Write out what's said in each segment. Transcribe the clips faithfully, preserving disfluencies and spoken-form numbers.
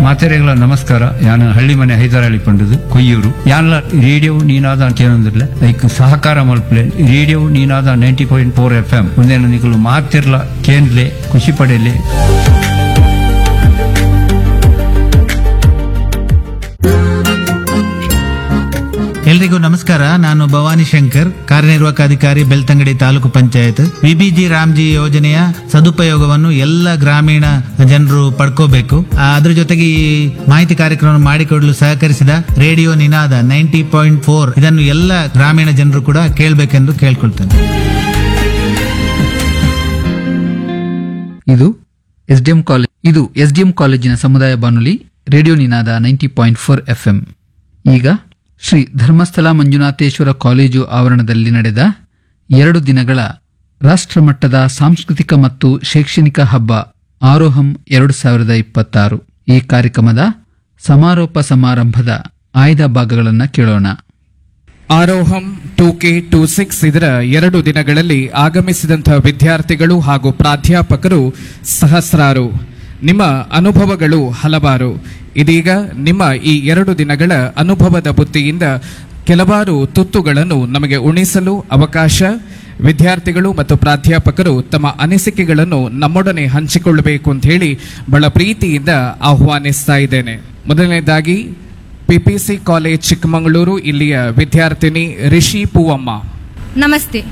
ಮಾತೆರೆಗಳ ನಮಸ್ಕಾರ. ಯಾನ ಹಳ್ಳಿ ಮನೆ ಹೈದರಾಳಿ ಪಂಡದು ಕೊಯ್ಯೂರು. ಯಾನ್ಲ ರೇಡಿಯೋ ನೀನಾದ ಅಂತ ಏನಂದಿರ್ಲೆ ಐಕ್ ಸಹಕಾರ ಮಲ್ಪಲೆ radio Ninada ninety point four F M ಒಂದೇನು ನಿಕಲು ಮಾತಿರ್ಲ ಕೇಂದ್ಲೆ ಖುಷಿ ಪಡೆಯಲಿ. ಎಲ್ರಿಗೂ ನಮಸ್ಕಾರ. ನಾನು ಭವಾನಿ ಶಂಕರ್, ಕಾರ್ಯನಿರ್ವಾಹಕ ಅಧಿಕಾರಿ, ಬೆಳ್ತಂಗಡಿ ತಾಲೂಕು ಪಂಚಾಯತ್. ವಿಬಿಜಿ ರಾಮ್ಜಿ ಯೋಜನೆಯ ಸದುಪಯೋಗವನ್ನು ಎಲ್ಲ ಗ್ರಾಮೀಣ ಜನರು ಪಡ್ಕೋಬೇಕು. ಆ, ಅದ್ರ ಜೊತೆಗೆ ಈ ಮಾಹಿತಿ ಕಾರ್ಯಕ್ರಮ ಮಾಡಿಕೊಡಲು ಸಹಕರಿಸಿದ radio Ninada ninety point four ಇದನ್ನು ಎಲ್ಲ ಗ್ರಾಮೀಣ ಜನರು ಕೂಡ ಕೇಳಬೇಕೆಂದು ಕೇಳ್ಕೊಳ್ತೇನೆ. ಇದು ಎಸ್ಡಿಎಂ ಕಾಲೇಜ್ ಇದು ಎಸ್ಡಿಎಂ ಕಾಲೇಜಿನ ಸಮುದಾಯ ಬಾನುಲಿ radio Ninada ninety point four FM. ಈಗ ಶ್ರೀ ಧರ್ಮಸ್ಥಳ ಮಂಜುನಾಥೇಶ್ವರ ಕಾಲೇಜು ಆವರಣದಲ್ಲಿ ನಡೆದ ಎರಡು ದಿನಗಳ ರಾಷ್ಟ್ರಮಟ್ಟದ ಸಾಂಸ್ಕೃತಿಕ ಮತ್ತು ಶೈಕ್ಷಣಿಕ ಹಬ್ಬ ಆರೋಹಂ ಎರಡು ಸಾವಿರದ ಇಪ್ಪತ್ತಾರು ಈ ಕಾರ್ಯಕ್ರಮದ ಸಮಾರೋಪ ಸಮಾರಂಭದ ಆಯ್ದ ಭಾಗಗಳನ್ನು ಕೇಳೋಣ. Aroham two K two six ಇದರ ಎರಡು ದಿನಗಳಲ್ಲಿ ಆಗಮಿಸಿದಂತಹ ವಿದ್ಯಾರ್ಥಿಗಳು ಹಾಗೂ ಪ್ರಾಧ್ಯಾಪಕರು ಸಹಸ್ರಾರು. ನಿಮ್ಮ ಅನುಭವಗಳು ಹಲವಾರು. ಇದೀಗ ನಿಮ್ಮ ಈ ಎರಡು ದಿನಗಳ ಅನುಭವದ ಬುತ್ತಿಯಿಂದ ಕೆಲವಾರು ತುತ್ತುಗಳನ್ನು ನಮಗೆ ಉಣಿಸಲು ಅವಕಾಶ. ವಿದ್ಯಾರ್ಥಿಗಳು ಮತ್ತು ಪ್ರಾಧ್ಯಾಪಕರು ತಮ್ಮ ಅನಿಸಿಕೆಗಳನ್ನು ನಮ್ಮೊಡನೆ ಹಂಚಿಕೊಳ್ಳಬೇಕು ಅಂತ ಹೇಳಿ ಬಹಳ ಪ್ರೀತಿಯಿಂದ ಆಹ್ವಾನಿಸ್ತಾ ಇದ್ದೇನೆ. ಮೊದಲನೇದಾಗಿ ಪಿಪಿಸಿ ಕಾಲೇಜ್ ಚಿಕ್ಕಮಗಳೂರು ಇಲ್ಲಿಯ ವಿದ್ಯಾರ್ಥಿನಿ ರಿಷಿ Poovamma. Namaste.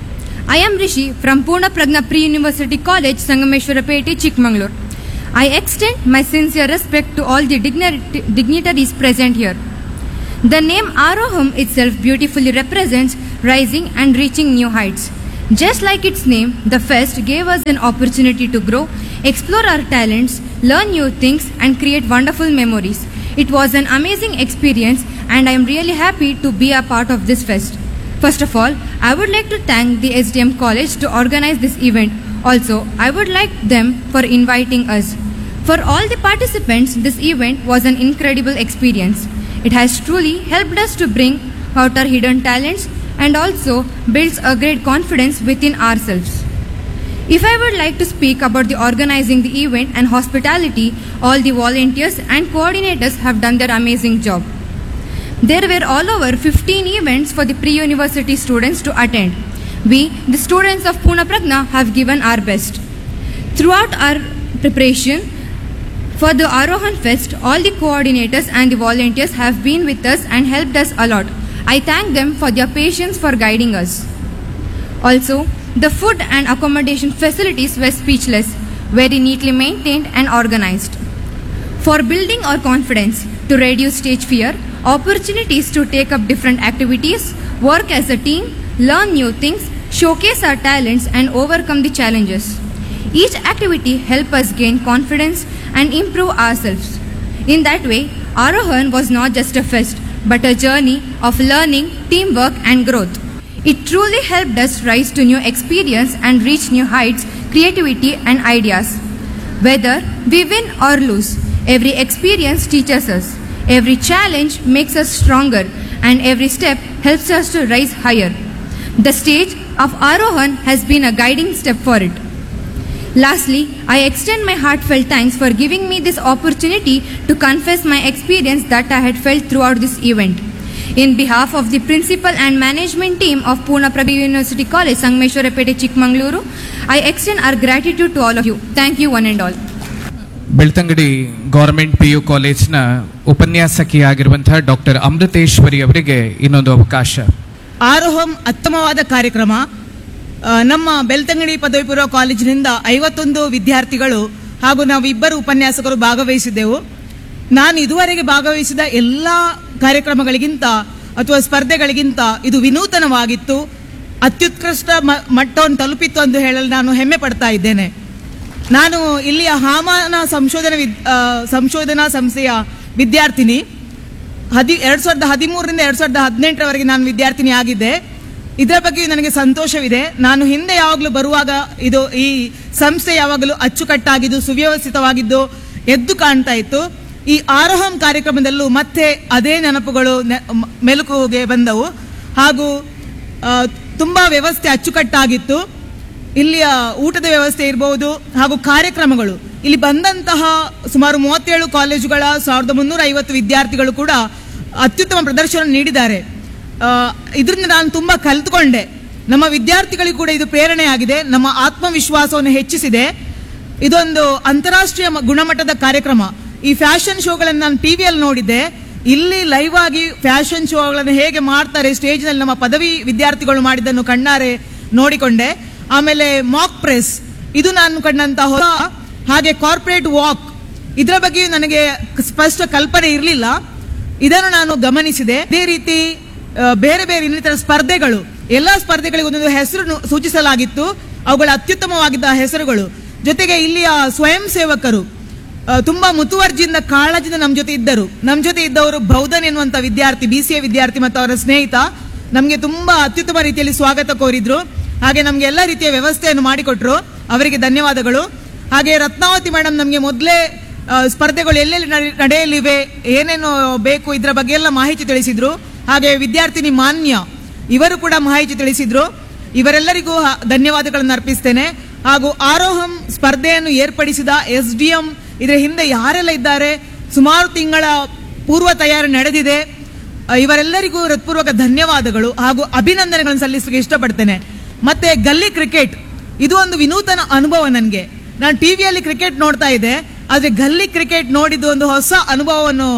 I am Rishi from Purna Pragna Pre University College, Sangameshwarapete, Chikmagalur. I extend my sincere respect to all the dignit- dignitaries present here. The name Aroham itself beautifully represents rising and reaching new heights. Just like its name, the fest gave us an opportunity to grow, explore our talents, learn new things, and create wonderful memories. It was an amazing experience, and I am really happy to be a part of this fest. First of all, I would like to thank the S D M College to organize this event. Also, I would like them for inviting us. For all the participants, this event was an incredible experience. It has truly helped us to bring out our hidden talents and also builds a great confidence within ourselves. If I would like to speak about the organizing the event and hospitality, all the volunteers and coordinators have done their amazing job. There were all over fifteen events for the pre-university students to attend. We, the students of Purna Pragna, have given our best. Throughout our preparation for the Arohan Fest, all the coordinators and the volunteers have been with us and helped us a lot. I thank them for their patience for guiding us. Also, the food and accommodation facilities were speechless, very neatly maintained and organized. For building our confidence, to reduce stage fear, opportunities to take up different activities, work as a team, learn new things, showcase our talents and overcome the challenges. Each activity helps us gain confidence and improve ourselves. In that way, Arohan was not just a fest, but a journey of learning, teamwork and growth. It truly helped us rise to new experience and reach new heights, creativity and ideas. Whether we win or lose, every experience teaches us, every challenge makes us stronger, and every step helps us to rise higher. The stage of Arohan has been a guiding step for it. Lastly, I extend my heartfelt thanks for giving me this opportunity to confess my experience that I had felt throughout this event. In behalf of the principal and management team of Purna Pragya University College, Sangameshwarapete, Chikmagaluru, I extend our gratitude to all of you. Thank you one and all. Belthangady government P U ಕಾಲೇಜ್ನ ಉಪನ್ಯಾಸಕಿಯಾಗಿರುವಂತಹ doctor Amriteshwari ಅವರಿಗೆ ಇನ್ನೊಂದು ಅವಕಾಶ. ಆರೋಹಂ ಉತ್ತಮವಾದ ಕಾರ್ಯಕ್ರಮ. ಆ, ನಮ್ಮ ಬೆಳ್ತಂಗಡಿ ಪದವಿ ಪೂರ್ವ ಕಾಲೇಜಿನಿಂದ ಐವತ್ತೊಂದು ವಿದ್ಯಾರ್ಥಿಗಳು ಹಾಗೂ ನಾವಿಬ್ಬರು ಉಪನ್ಯಾಸಕರು ಭಾಗವಹಿಸಿದ್ದೆವು. ನಾನು ಇದುವರೆಗೆ ಭಾಗವಹಿಸಿದ ಎಲ್ಲ ಕಾರ್ಯಕ್ರಮಗಳಿಗಿಂತ ಅಥವಾ ಸ್ಪರ್ಧೆಗಳಿಗಿಂತ ಇದು ವಿನೂತನವಾಗಿತ್ತು, ಅತ್ಯುತ್ಕೃಷ್ಟ ಮ- ಮಟ್ಟವನ್ನು ತಲುಪಿತ್ತು ಎಂದು ಹೇಳಲು ನಾನು ಹೆಮ್ಮೆ ಪಡ್ತಾ ಇದ್ದೇನೆ. ನಾನು ಇಲ್ಲಿಯ ಹಾಮಾನ ಸಂಶೋಧನಾ ವಿದ್ ಆ, ಸಂಶೋಧನಾ ಸಂಸ್ಥೆಯ ವಿದ್ಯಾರ್ಥಿನಿ. ಹದಿ ಎರಡು ಸಾವಿರದ ಹದಿಮೂರರಿಂದ ಎರಡು ಸಾವಿರದ ಹದಿನೆಂಟರವರೆಗೆ ನಾನು ವಿದ್ಯಾರ್ಥಿನಿ ಆಗಿದ್ದೆ. ಇದರ ಬಗ್ಗೆ ನನಗೆ ಸಂತೋಷವಿದೆ. ನಾನು ಹಿಂದೆ ಯಾವಾಗಲೂ ಬರುವಾಗ ಇದು ಈ ಸಂಸ್ಥೆ ಯಾವಾಗಲೂ ಅಚ್ಚುಕಟ್ಟಾಗಿದ್ದು ಸುವ್ಯವಸ್ಥಿತವಾಗಿದ್ದು ಎದ್ದು ಕಾಣ್ತಾ ಇತ್ತು. ಈ ಆರೋಹಂ ಕಾರ್ಯಕ್ರಮದಲ್ಲೂ ಮತ್ತೆ ಅದೇ ನೆನಪುಗಳು ನೆ- ಮ- ಮೆಲುಕುಗೆ ಬಂದವು. ಹಾಗೂ ಆ, ತುಂಬಾ ವ್ಯವಸ್ಥೆ ಅಚ್ಚುಕಟ್ಟಾಗಿತ್ತು. ಇಲ್ಲಿಯ ಊಟದ ವ್ಯವಸ್ಥೆ ಇರಬಹುದು ಹಾಗೂ ಕಾರ್ಯಕ್ರಮಗಳು. ಇಲ್ಲಿ ಬಂದಂತಹ ಸುಮಾರು ಮೂವತ್ತೇಳು ಕಾಲೇಜುಗಳ ಸಾವಿರದ ಮುನ್ನೂರ ಐವತ್ತು ವಿದ್ಯಾರ್ಥಿಗಳು ಕೂಡ ಅತ್ಯುತ್ತಮ ಪ್ರದರ್ಶನ ನೀಡಿದ್ದಾರೆ. ಇದರಿಂದ ನಾನು ತುಂಬ ಕಲಿತುಕೊಂಡೆ. ನಮ್ಮ ವಿದ್ಯಾರ್ಥಿಗಳಿಗೂ ಕೂಡ ಇದು ಪ್ರೇರಣೆಯಾಗಿದೆ, ನಮ್ಮ ಆತ್ಮವಿಶ್ವಾಸವನ್ನು ಹೆಚ್ಚಿಸಿದೆ. ಇದೊಂದು ಅಂತಾರಾಷ್ಟ್ರೀಯ ಗುಣಮಟ್ಟದ ಕಾರ್ಯಕ್ರಮ. ಈ ಫ್ಯಾಷನ್ ಶೋಗಳನ್ನು ನಾನು ಟಿವಿಯಲ್ಲಿ ನೋಡಿದ್ದೆ. ಇಲ್ಲಿ ಲೈವ್ ಆಗಿ ಫ್ಯಾಷನ್ ಶೋಗಳನ್ನು ಹೇಗೆ ಮಾಡ್ತಾರೆ ಸ್ಟೇಜ್ನಲ್ಲಿ ನಮ್ಮ ಪದವಿ ವಿದ್ಯಾರ್ಥಿಗಳು ಮಾಡಿದ್ದನ್ನು ಕಣ್ಣಾರೆ ನೋಡಿಕೊಂಡೆ. ಆಮೇಲೆ ಮಾಕ್ ಪ್ರೆಸ್, ಇದು ನಾನು ಕಂಡಂತಹ ಹೊಸ, ಹಾಗೆ ಕಾರ್ಪೊರೇಟ್ ವಾಕ್, ಇದರ ಬಗ್ಗೆಯೂ ನನಗೆ ಸ್ಪಷ್ಟ ಕಲ್ಪನೆ ಇರಲಿಲ್ಲ, ಇದನ್ನು ನಾನು ಗಮನಿಸಿದೆ. ಅದೇ ರೀತಿ ಬೇರೆ ಬೇರೆ ಇನ್ನಿತರ ಸ್ಪರ್ಧೆಗಳು, ಎಲ್ಲ ಸ್ಪರ್ಧೆಗಳಿಗೆ ಒಂದೊಂದು ಹೆಸರು ಸೂಚಿಸಲಾಗಿತ್ತು, ಅವುಗಳ ಅತ್ಯುತ್ತಮವಾಗಿದ್ದ ಹೆಸರುಗಳು. ಜೊತೆಗೆ ಇಲ್ಲಿಯ ಸ್ವಯಂ ಸೇವಕರು ತುಂಬಾ ಮುತುವರ್ಜಿಯಿಂದ ಕಾಳಜಿಯಿಂದ ನಮ್ಮ ಜೊತೆ ಇದ್ದರು. ನಮ್ಮ ಜೊತೆ ಇದ್ದವರು ಬೌಧನ್ ಎನ್ನುವಂತ ವಿದ್ಯಾರ್ಥಿ, B C A ವಿದ್ಯಾರ್ಥಿ ಮತ್ತು ಅವರ ಸ್ನೇಹಿತ ನಮಗೆ ತುಂಬಾ ಅತ್ಯುತ್ತಮ ರೀತಿಯಲ್ಲಿ ಸ್ವಾಗತ ಕೋರಿದ್ರು. ಹಾಗೆ ನಮಗೆ ಎಲ್ಲ ರೀತಿಯ ವ್ಯವಸ್ಥೆಯನ್ನು ಮಾಡಿಕೊಟ್ರು, ಅವರಿಗೆ ಧನ್ಯವಾದಗಳು. ಹಾಗೆ ರತ್ನಾವತಿ ಮೇಡಮ್ ನಮಗೆ ಮೊದಲೇ ಸ್ಪರ್ಧೆಗಳು ಎಲ್ಲೆಲ್ಲಿ ನಡೆಯಲಿವೆ, ಏನೇನು ಬೇಕು ಇದರ ಬಗ್ಗೆ ಎಲ್ಲ ಮಾಹಿತಿ ತಿಳಿಸಿದ್ರು. ಹಾಗೆ ವಿದ್ಯಾರ್ಥಿನಿ ಮಾನ್ಯ ಇವರು ಕೂಡ ಮಾಹಿತಿ ತಿಳಿಸಿದ್ರು. ಇವರೆಲ್ಲರಿಗೂ ಧನ್ಯವಾದಗಳನ್ನು ಅರ್ಪಿಸ್ತೇನೆ. ಹಾಗೂ ಆರೋಹಂ ಸ್ಪರ್ಧೆಯನ್ನು ಏರ್ಪಡಿಸಿದ S D M, ಇದರ ಹಿಂದೆ ಯಾರೆಲ್ಲ ಇದ್ದಾರೆ, ಸುಮಾರು ತಿಂಗಳ ಪೂರ್ವ ತಯಾರಿ ನಡೆದಿದೆ, ಇವರೆಲ್ಲರಿಗೂ ಹೃತ್ಪೂರ್ವಕ ಧನ್ಯವಾದಗಳು ಹಾಗೂ ಅಭಿನಂದನೆಗಳನ್ನು ಸಲ್ಲಿಸಲಿಕ್ಕೆ ಇಷ್ಟಪಡ್ತೇನೆ. ಮತ್ತೆ ಗಲ್ಲಿ ಕ್ರಿಕೆಟ್, ಇದು ಒಂದು ವಿನೂತನ ಅನುಭವ ನನಗೆ. ನಾನು ಟಿವಿಯಲ್ಲಿ ಕ್ರಿಕೆಟ್ ನೋಡ್ತಾ ಇದ್ದೆ, ಆದರೆ ಗಲ್ಲಿ ಕ್ರಿಕೆಟ್ ನೋಡಿದ್ದು ಒಂದು ಹೊಸ ಅನುಭವವನ್ನು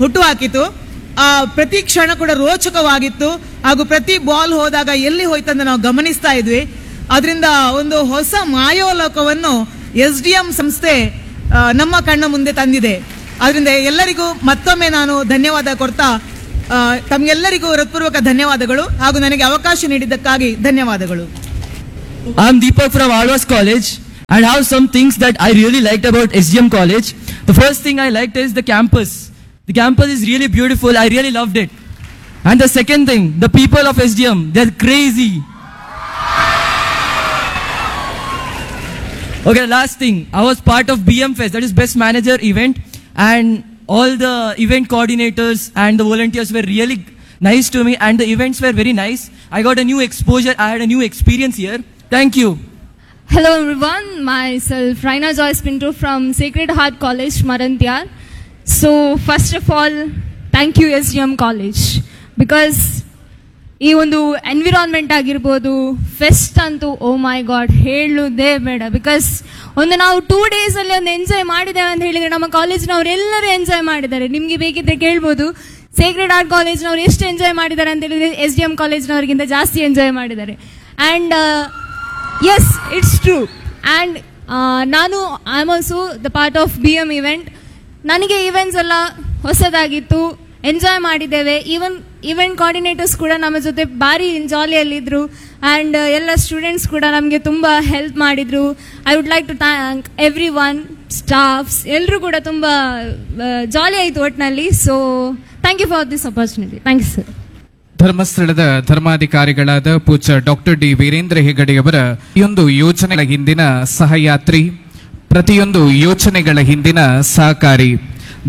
ಹುಟ್ಟುಹಾಕಿತು. ಆ ಪ್ರತಿ ಕ್ಷಣ ಕೂಡ ರೋಚಕವಾಗಿತ್ತು ಹಾಗೂ ಪ್ರತಿ ಬಾಲ್ ಹೋದಾಗ ಎಲ್ಲಿ ಹೋಯ್ತಂತ ನಾವು ಗಮನಿಸ್ತಾ ಇದ್ವಿ. ಅದರಿಂದ ಒಂದು ಹೊಸ ಮಾಯೋಲೋಕವನ್ನು S D M ಸಂಸ್ಥೆ ನಮ್ಮ ಕಣ್ಣ ಮುಂದೆ ತಂದಿದೆ. ಅದರಿಂದ ಎಲ್ಲರಿಗೂ ಮತ್ತೊಮ್ಮೆ ನಾನು ಧನ್ಯವಾದ ಕೊಡ್ತಾ ತಮಗೆಲ್ಲರಿಗೂ ಹೃತ್ಪೂರ್ವಕ ಧನ್ಯವಾದಗಳು ಹಾಗೂ ನನಗೆ ಅವಕಾಶ ನೀಡಿದ್ದಕ್ಕಾಗಿ ಧನ್ಯವಾದಗಳು. I am Deepak from Alva's College and have some things that I really liked about S D M College. The first thing I liked is the campus. The campus is really beautiful. I really loved it. And the second thing, the people of S D M, they're crazy. Okay, last thing. I was part of B M Fest, that is Best Manager event, and all the event coordinators and the volunteers were really nice to me, and the events were very nice. I got a new exposure. I had a new experience here. Thank you. Hello everyone, myself Raina Joyce Pinto from Sacred Heart College, Marantyar. So first of all, thank you S D M College, because ಈ ಒಂದು environment ಆಗಿರ್ಬೋದು, fest ಅಂತೂ ಓ ಮೈ god ಹೇಳುವುದೇ ಬೇಡ. Because ಒಂದು ನಾವು two ಡೇಸಲ್ಲಿ ಒಂದು enjoy ಮಾಡಿದ್ದೇವೆ ಅಂತ ಹೇಳಿದರೆ ನಮ್ಮ ಕಾಲೇಜಿನವರೆಲ್ಲರೂ ಎಂಜಾಯ್ ಮಾಡಿದ್ದಾರೆ. ನಿಮಗೆ ಬೇಕಿದ್ರೆ ಕೇಳ್ಬೋದು, ಸೇಕ್ರೆಡ್ ಹಾರ್ಟ್ ಕಾಲೇಜ್ನವ್ರು ಎಷ್ಟು ಎಂಜಾಯ್ ಮಾಡಿದ್ದಾರೆ ಅಂತ ಹೇಳಿದರೆ S D M ಕಾಲೇಜ್ನವ್ರಿಗಿಂತ ಜಾಸ್ತಿ ಎಂಜಾಯ್ ಮಾಡಿದ್ದಾರೆ. And yes, it's true. And ನಾನು I am also the part of B M event. ನನಗೆ ಈವೆಂಟ್ಸ್ ಎಲ್ಲ ಹೊಸದಾಗಿತ್ತು, ಎಂಜಾಯ್ ಮಾಡಿದ್ದೇವೆ. Even event coordinators ಕೂಡ ನಮ್ಮ ಜೊತೆ ಭಾರಿ ಜಾಲಿಯಲ್ಲಿದ್ದರು. ಆ್ಯಂಡ್ ಎಲ್ಲ ಸ್ಟೂಡೆಂಟ್ಸ್ ಕೂಡ ನಮಗೆ ತುಂಬ ಹೆಲ್ಪ್ ಮಾಡಿದರು. I would like to thank everyone, staffs ಎಲ್ಲರೂ ಕೂಡ ತುಂಬ ಜಾಲಿ ಆಯಿತು ಒಟ್ಟಿನಲ್ಲಿ. So thank you for this opportunity. Thank you sir. ಧರ್ಮಸ್ಥಳದ ಧರ್ಮಾಧಿಕಾರಿಗಳಾದ ಪೂಜ್ಯ ಡಾಕ್ಟರ್ ಡಿ ವೀರೇಂದ್ರ ಹೆಗಡೆಯವರ ಈ ಒಂದು ಯೋಜನೆಗಳ ಹಿಂದಿನ ಸಹಯಾತ್ರಿ, ಪ್ರತಿಯೊಂದು ಯೋಜನೆಗಳ ಹಿಂದಿನ ಸಹಕಾರಿ,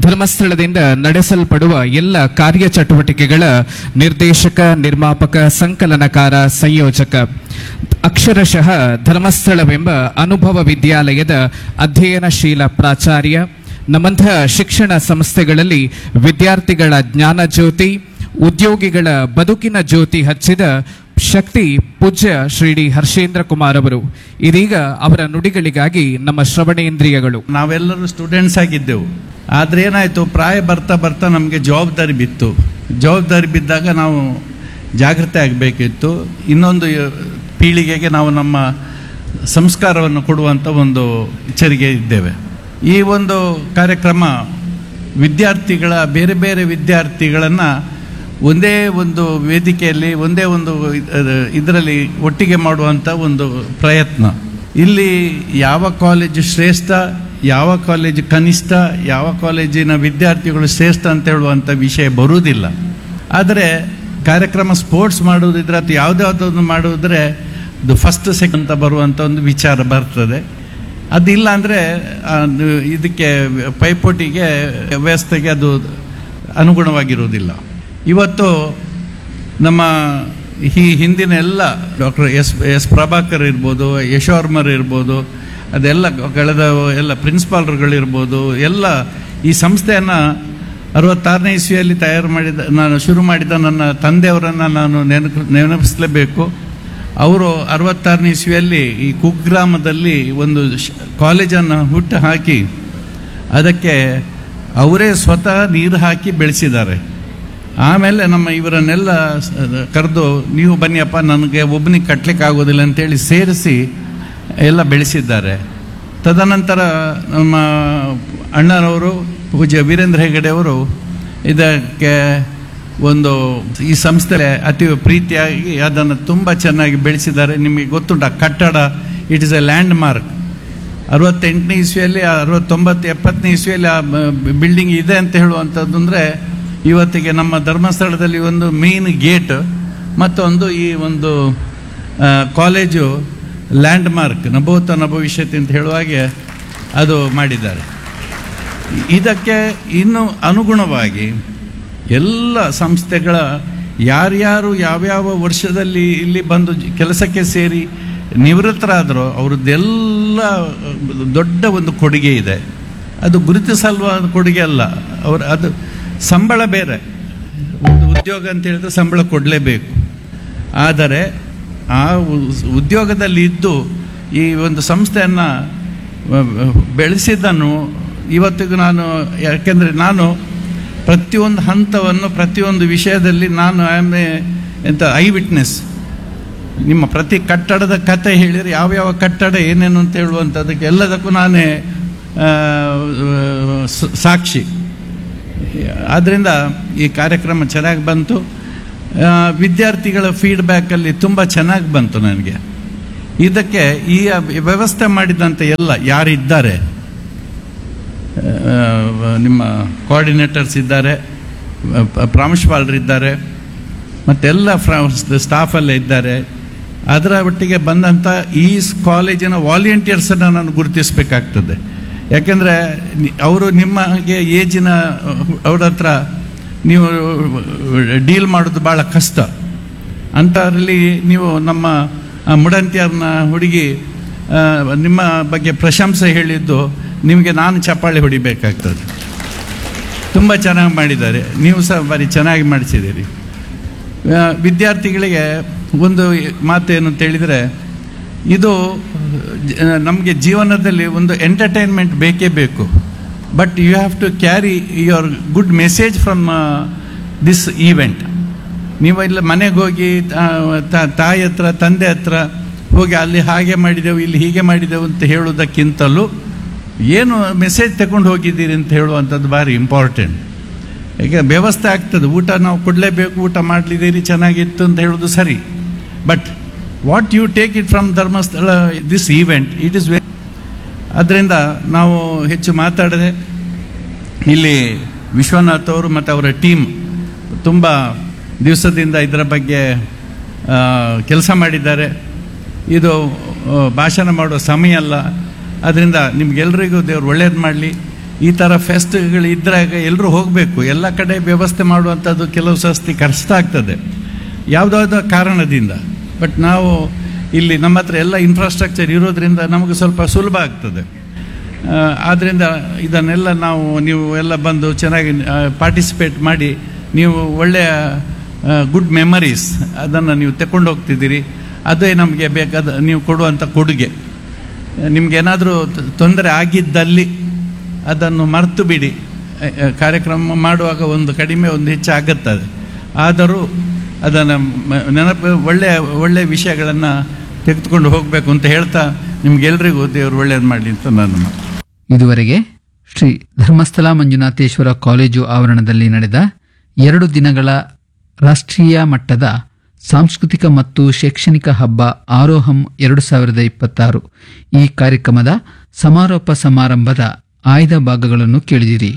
ಧರ್ಮಸ್ಥಳದಿಂದ ನಡೆಸಲ್ಪಡುವ ಎಲ್ಲ ಕಾರ್ಯಚಟುವಟಿಕೆಗಳ ನಿರ್ದೇಶಕ, ನಿರ್ಮಾಪಕ, ಸಂಕಲನಕಾರ, ಸಂಯೋಜಕ, ಅಕ್ಷರಶಃ ಧರ್ಮಸ್ಥಳವೆಂಬ ಅನುಭವ ವಿದ್ಯಾಲಯದ ಅಧ್ಯಯನಶೀಲ ಪ್ರಾಚಾರ್ಯ, ನಮ್ಮಂತಹ ಶಿಕ್ಷಣ ಸಂಸ್ಥೆಗಳಲ್ಲಿ ವಿದ್ಯಾರ್ಥಿಗಳ ಜ್ಞಾನ ಜ್ಯೋತಿ, ಉದ್ಯೋಗಿಗಳ ಬದುಕಿನ ಜ್ಯೋತಿ ಹಚ್ಚಿದ ಶಕ್ತಿ ಪೂಜ್ಯ ಶ್ರೀ ಡಿ ಹರ್ಷೇಂದ್ರ ಕುಮಾರ್ ಅವರು. ಇದೀಗ ಅವರ ನುಡಿಗಳಿಗಾಗಿ ನಮ್ಮ ಶ್ರವಣೇಂದ್ರಿಯಗಳು. ನಾವೆಲ್ಲರೂ ಸ್ಟೂಡೆಂಟ್ಸ್ ಆಗಿದ್ದೆವು, ಆದರೆ ಏನಾಯಿತು, ಪ್ರಾಯ ಬರ್ತಾ ಬರ್ತಾ ನಮಗೆ ಜವಾಬ್ದಾರಿ ಬಿತ್ತು. ಜವಾಬ್ದಾರಿ ಬಿದ್ದಾಗ ನಾವು ಜಾಗೃತೆ ಆಗಬೇಕಿತ್ತು. ಇನ್ನೊಂದು ಪೀಳಿಗೆಗೆ ನಾವು ನಮ್ಮ ಸಂಸ್ಕಾರವನ್ನು ಕೊಡುವಂಥ ಒಂದು ಎಚ್ಚರಿಕೆ ಇದ್ದೇವೆ. ಈ ಒಂದು ಕಾರ್ಯಕ್ರಮ ವಿದ್ಯಾರ್ಥಿಗಳ ಬೇರೆ ಬೇರೆ ವಿದ್ಯಾರ್ಥಿಗಳನ್ನು ಒಂದೇ ಒಂದು ವೇದಿಕೆಯಲ್ಲಿ, ಒಂದೇ ಒಂದು ಇದರಲ್ಲಿ ಒಟ್ಟಿಗೆ ಮಾಡುವಂಥ ಒಂದು ಪ್ರಯತ್ನ. ಇಲ್ಲಿ ಯಾವ ಕಾಲೇಜು ಶ್ರೇಷ್ಠ, ಯಾವ ಕಾಲೇಜು ಕನಿಷ್ಠ, ಯಾವ ಕಾಲೇಜಿನ ವಿದ್ಯಾರ್ಥಿಗಳು ಶ್ರೇಷ್ಠ ಅಂತ ಹೇಳುವಂಥ ವಿಷಯ ಬರುವುದಿಲ್ಲ. ಆದರೆ ಕಾರ್ಯಕ್ರಮ ಸ್ಪೋರ್ಟ್ಸ್ ಮಾಡುವುದಿದ್ರೆ ಅಥವಾ ಯಾವುದಾದ್ರೊಂದು ಮಾಡುವುದ್ರೆ ಅದು ಫಸ್ಟ್ ಸೆಕೆಂಡ್ ಅಂತ ಬರುವಂಥ ಒಂದು ವಿಚಾರ ಬರ್ತದೆ. ಅದಿಲ್ಲ ಅಂದರೆ ಇದಕ್ಕೆ ಪೈಪೋಟಿಗೆ ವ್ಯವಸ್ಥೆಗೆ ಅದು ಅನುಗುಣವಾಗಿರುವುದಿಲ್ಲ. ಇವತ್ತು ನಮ್ಮ ಈ ಹಿಂದಿನ ಎಲ್ಲ doctor S S Prabhakar ಇರ್ಬೋದು, ಯಶೋರ್ಮರ್ ಇರ್ಬೋದು, ಅದೆಲ್ಲ ಕಳೆದ ಎಲ್ಲ ಪ್ರಿನ್ಸಿಪಾಲ್ರುಗಳಿರ್ಬೋದು, ಎಲ್ಲ ಈ ಸಂಸ್ಥೆಯನ್ನು ಅರವತ್ತಾರನೇ ಇಸ್ವಿಯಲ್ಲಿ ತಯಾರು ಮಾಡಿದ, ನಾನು ಶುರು ಮಾಡಿದ ನನ್ನ ತಂದೆಯವರನ್ನು ನಾನು ನೆನಪು ನೆನಪಿಸಲೇಬೇಕು. ಅವರು ಅರವತ್ತಾರನೇ ಇಸ್ವಿಯಲ್ಲಿ ಈ ಕುಗ್ರಾಮದಲ್ಲಿ ಒಂದು ಕಾಲೇಜನ್ನು ಹುಟ್ಟು ಹಾಕಿ ಅದಕ್ಕೆ ಅವರೇ ಸ್ವತಃ ನೀರು ಹಾಕಿ ಬೆಳೆಸಿದ್ದಾರೆ. ಆಮೇಲೆ ನಮ್ಮ ಇವರನ್ನೆಲ್ಲ ಕರೆದು, ನೀವು ಬನ್ನಿಯಪ್ಪ, ನನಗೆ ಒಬ್ಬನಿಗೆ ಕಟ್ಟಲಿಕ್ಕೆ ಆಗೋದಿಲ್ಲ ಅಂತೇಳಿ ಸೇರಿಸಿ ಎಲ್ಲ ಬೆಳೆಸಿದ್ದಾರೆ. ತದನಂತರ ನಮ್ಮ ಅಣ್ಣನವರು ಪೂಜ್ಯ ವೀರೇಂದ್ರ ಹೆಗಡೆಯವರು ಇದಕ್ಕೆ ಒಂದು ಈ ಸಂಸ್ಥೆ ಅತಿ ಪ್ರೀತಿಯಾಗಿ ಅದನ್ನು ತುಂಬ ಚೆನ್ನಾಗಿ ಬೆಳೆಸಿದ್ದಾರೆ. ನಿಮಗೆ ಗೊತ್ತುಂಟು, ಆ ಕಟ್ಟಡ it is a landmark. ಅರವತ್ತೆಂಟನೇ ಇಸ್ವಿಯಲ್ಲಿ, ಅರವತ್ತೊಂಬತ್ತು ಎಪ್ಪತ್ತನೇ ಇಸ್ವಿಯಲ್ಲಿ ಆ ಬಿಲ್ಡಿಂಗ್ ಇದೆ ಅಂತ ಹೇಳುವಂಥದ್ದು ಅಂದರೆ ಇವತ್ತಿಗೆ ನಮ್ಮ ಧರ್ಮಸ್ಥಳದಲ್ಲಿ ಒಂದು ಮೇನ್ ಗೇಟ್ ಮತ್ತೊಂದು ಈ ಒಂದು college land mark, ನಭೂತ ನಭವಿಷ್ಯತಿ ಅಂತ ಹೇಳುವಾಗೆ ಅದು ಮಾಡಿದ್ದಾರೆ. ಇದಕ್ಕೆ ಇನ್ನು ಅನುಗುಣವಾಗಿ ಎಲ್ಲ ಸಂಸ್ಥೆಗಳ ಯಾರ್ಯಾರು ಯಾವ್ಯಾವ ವರ್ಷದಲ್ಲಿ ಇಲ್ಲಿ ಬಂದು ಕೆಲಸಕ್ಕೆ ಸೇರಿ ನಿವೃತ್ತರಾದರೋ ಅವ್ರದ್ದೆಲ್ಲ ದೊಡ್ಡ ಒಂದು ಕೊಡುಗೆ ಇದೆ. ಅದು ಗುರುತಿಸಲ್ವ ಕೊಡುಗೆ ಅಲ್ಲ, ಅವರು ಅದು ಸಂಬಳ ಬೇರೆ, ಒಂದು ಉದ್ಯೋಗ ಅಂತ ಹೇಳಿದ್ರೆ ಸಂಬಳ ಕೊಡಲೇಬೇಕು. ಆದರೆ ಆ ಉದ್ಯೋಗದಲ್ಲಿ ಇದ್ದು ಈ ಒಂದು ಸಂಸ್ಥೆಯನ್ನು ಬೆಳೆಸಿದ್ದನ್ನು ಇವತ್ತಿಗೂ ನಾನು, ಯಾಕೆಂದರೆ ನಾನು ಪ್ರತಿಯೊಂದು ಹಂತವನ್ನು ಪ್ರತಿಯೊಂದು ವಿಷಯದಲ್ಲಿ ನಾನು I am A ಎಂಥ ಐ ವಿಟ್ನೆಸ್. ನಿಮ್ಮ ಪ್ರತಿ ಕಟ್ಟಡದ ಕತೆ ಹೇಳಿದರೆ ಯಾವ್ಯಾವ ಕಟ್ಟಡ ಏನೇನು ಅಂತ ಹೇಳುವಂಥದ್ದಕ್ಕೆ ಎಲ್ಲದಕ್ಕೂ ನಾನೇ ಸಾಕ್ಷಿ. ಆದ್ದರಿಂದ ಈ ಕಾರ್ಯಕ್ರಮ ಚೆನ್ನಾಗಿ ಬಂತು. ವಿದ್ಯಾರ್ಥಿಗಳ ಫೀಡ್ಬ್ಯಾಕಲ್ಲಿ ತುಂಬ ಚೆನ್ನಾಗಿ ಬಂತು ನನಗೆ. ಇದಕ್ಕೆ ಈ ವ್ಯವಸ್ಥೆ ಮಾಡಿದಂಥ ಎಲ್ಲ ಯಾರಿದ್ದಾರೆ, ನಿಮ್ಮ ಕೋಆರ್ಡಿನೇಟರ್ಸ್ ಇದ್ದಾರೆ, ಪ್ರಾಂಶುಪಾಲರಿದ್ದಾರೆ, ಮತ್ತೆಲ್ಲ ಸ್ಟಾಫಲ್ಲೇ ಇದ್ದಾರೆ. ಅದರ ಒಟ್ಟಿಗೆ ಬಂದಂಥ ಈ ಕಾಲೇಜಿನ ವಾಲಂಟಿಯರ್ಸನ್ನು ನಾನು ಗುರುತಿಸಬೇಕಾಗ್ತದೆ. ಯಾಕೆಂದರೆ ಅವರು ನಿಮಗೆ ಏಜಿನ ಅವ್ರ ಹತ್ರ ನೀವು ಡೀಲ್ ಮಾಡೋದು ಭಾಳ ಕಷ್ಟ. ಅಂಥದ್ರಲ್ಲಿ ನೀವು ನಮ್ಮ ಮುಡಂತಿಯರ್ನ ಹುಡುಗಿ ನಿಮ್ಮ ಬಗ್ಗೆ ಪ್ರಶಂಸೆ ಹೇಳಿದ್ದು ನಿಮಗೆ ನಾನು ಚಪ್ಪಾಳೆ ಹೊಡಿಬೇಕಾಗ್ತದೆ. ತುಂಬ ಚೆನ್ನಾಗಿ ಮಾಡಿದ್ದಾರೆ, ನೀವು ಸಹ ಭಾರಿ ಚೆನ್ನಾಗಿ ಮಾಡಿಸಿದ್ದೀರಿ. ವಿದ್ಯಾರ್ಥಿಗಳಿಗೆ ಒಂದು ಮಾತೇನು ಅಂತೇಳಿದರೆ, ಇದು ನಮಗೆ ಜೀವನದಲ್ಲಿ ಒಂದು ಎಂಟರ್ಟೈನ್ಮೆಂಟ್ ಬೇಕೇ ಬೇಕು. But you have to carry your good message from this event. ನೀವು ಇಲ್ಲ ಮನೆಗೆ ಹೋಗಿ ತಾಯಿ ಹತ್ರ ತಂದೆ ಹತ್ರ ಹೋಗಿ ಅಲ್ಲಿ ಹಾಗೆ ಮಾಡಿದೆವು ಇಲ್ಲಿ ಹೀಗೆ ಮಾಡಿದೆವು ಅಂತ ಹೇಳುವುದಕ್ಕಿಂತಲೂ ಏನು ಮೆಸೇಜ್ ತಗೊಂಡು ಹೋಗಿದ್ದೀರಿ ಅಂತ ಹೇಳುವಂಥದ್ದು ಭಾರಿ ಇಂಪಾರ್ಟೆಂಟ್. ಈಗ ವ್ಯವಸ್ಥೆ ಆಗ್ತದೆ, ಊಟ ನಾವು ಕೊಡಲೇಬೇಕು, ಊಟ ಮಾಡಲಿದ್ದೀರಿ ಚೆನ್ನಾಗಿತ್ತು ಅಂತ ಹೇಳೋದು ಸರಿ, but what you take it from Dharmasthala this event it is very. ಅದರಿಂದ ನಾವು ಹೆಚ್ಚು ಮಾತಾಡದೆ ಇಲ್ಲಿ ವಿಶ್ವನಾಥ್ ಅವರು ಮತ್ತು ಅವರ ಟೀಮ್ ತುಂಬ ದಿವಸದಿಂದ ಇದರ ಬಗ್ಗೆ ಕೆಲಸ ಮಾಡಿದ್ದಾರೆ. ಇದು ಭಾಷಣ ಮಾಡುವ ಸಮಯ ಅಲ್ಲ, ಅದರಿಂದ ನಿಮಗೆಲ್ಲರಿಗೂ ದೇವರು ಒಳ್ಳೇದು ಮಾಡಲಿ. ಈ ಥರ ಫೆಸ್ಟ್ಗಳು ಇದ್ದಾಗ ಎಲ್ಲರೂ ಹೋಗಬೇಕು, ಎಲ್ಲ ಕಡೆ ವ್ಯವಸ್ಥೆ ಮಾಡುವಂಥದ್ದು ಕೆಲವು ಸಸ್ತಿ ಕಷ್ಟ ಆಗ್ತದೆ ಯಾವುದಾದ ಕಾರಣದಿಂದ. ಬಟ್ ನಾವು ಇಲ್ಲಿ ನಮ್ಮ ಹತ್ರ ಎಲ್ಲ ಇನ್ಫ್ರಾಸ್ಟ್ರಕ್ಚರ್ ಇರೋದ್ರಿಂದ ನಮಗೆ ಸ್ವಲ್ಪ ಸುಲಭ ಆಗ್ತದೆ. ಆದ್ದರಿಂದ ಇದನ್ನೆಲ್ಲ ನಾವು ನೀವು ಎಲ್ಲ ಬಂದು ಚೆನ್ನಾಗಿ ಪಾರ್ಟಿಸಿಪೇಟ್ ಮಾಡಿ ನೀವು ಒಳ್ಳೆಯ ಗುಡ್ ಮೆಮರೀಸ್ ಅದನ್ನು ನೀವು ತಗೊಂಡು ಹೋಗ್ತಿದ್ದೀರಿ. ಅದೇ ನಮಗೆ ಬೇಕಾದ ನೀವು ಕೊಡುವಂಥ ಕೊಡುಗೆ. ನಿಮಗೇನಾದರೂ ತೊಂದರೆ ಆಗಿದ್ದಲ್ಲಿ ಅದನ್ನು ಮರೆತು ಬಿಡಿ. ಕಾರ್ಯಕ್ರಮ ಮಾಡುವಾಗ ಒಂದು ಕಡಿಮೆ ಒಂದು ಹೆಚ್ಚು ಆಗುತ್ತದೆ, ಆದರೂ ಅದನ್ನು ನೆನಪು ಒಳ್ಳೆಯ ಒಳ್ಳೆಯ ವಿಷಯಗಳನ್ನು ತೆಗೆದುಕೊಂಡು ಹೋಗಬೇಕು ಅಂತ ಹೇಳ್ತಾ ನಿಮಗೆಲ್ಲರಿಗೂ ದೇವರು ಒಳ್ಳೆಯದು ಮಾಡಲಿ ಅಂತ ನಾನು. ಇದುವರೆಗೆ ಶ್ರೀ ಧರ್ಮಸ್ಥಳ ಮಂಜುನಾಥೇಶ್ವರ ಕಾಲೇಜು ಆವರಣದಲ್ಲಿ ನಡೆದ ಎರಡು ದಿನಗಳ ರಾಷ್ಟ್ರೀಯ ಮಟ್ಟದ ಸಾಂಸ್ಕೃತಿಕ ಮತ್ತು ಶೈಕ್ಷಣಿಕ ಹಬ್ಬ ಆರೋಹಂ ಎರಡು ಸಾವಿರದ ಇಪ್ಪತ್ತಾರು ಈ ಕಾರ್ಯಕ್ರಮದ ಸಮಾರೋಪ ಸಮಾರಂಭದ ಆಯ್ದ ಭಾಗಗಳನ್ನು ಕೇಳಿದಿರಿ.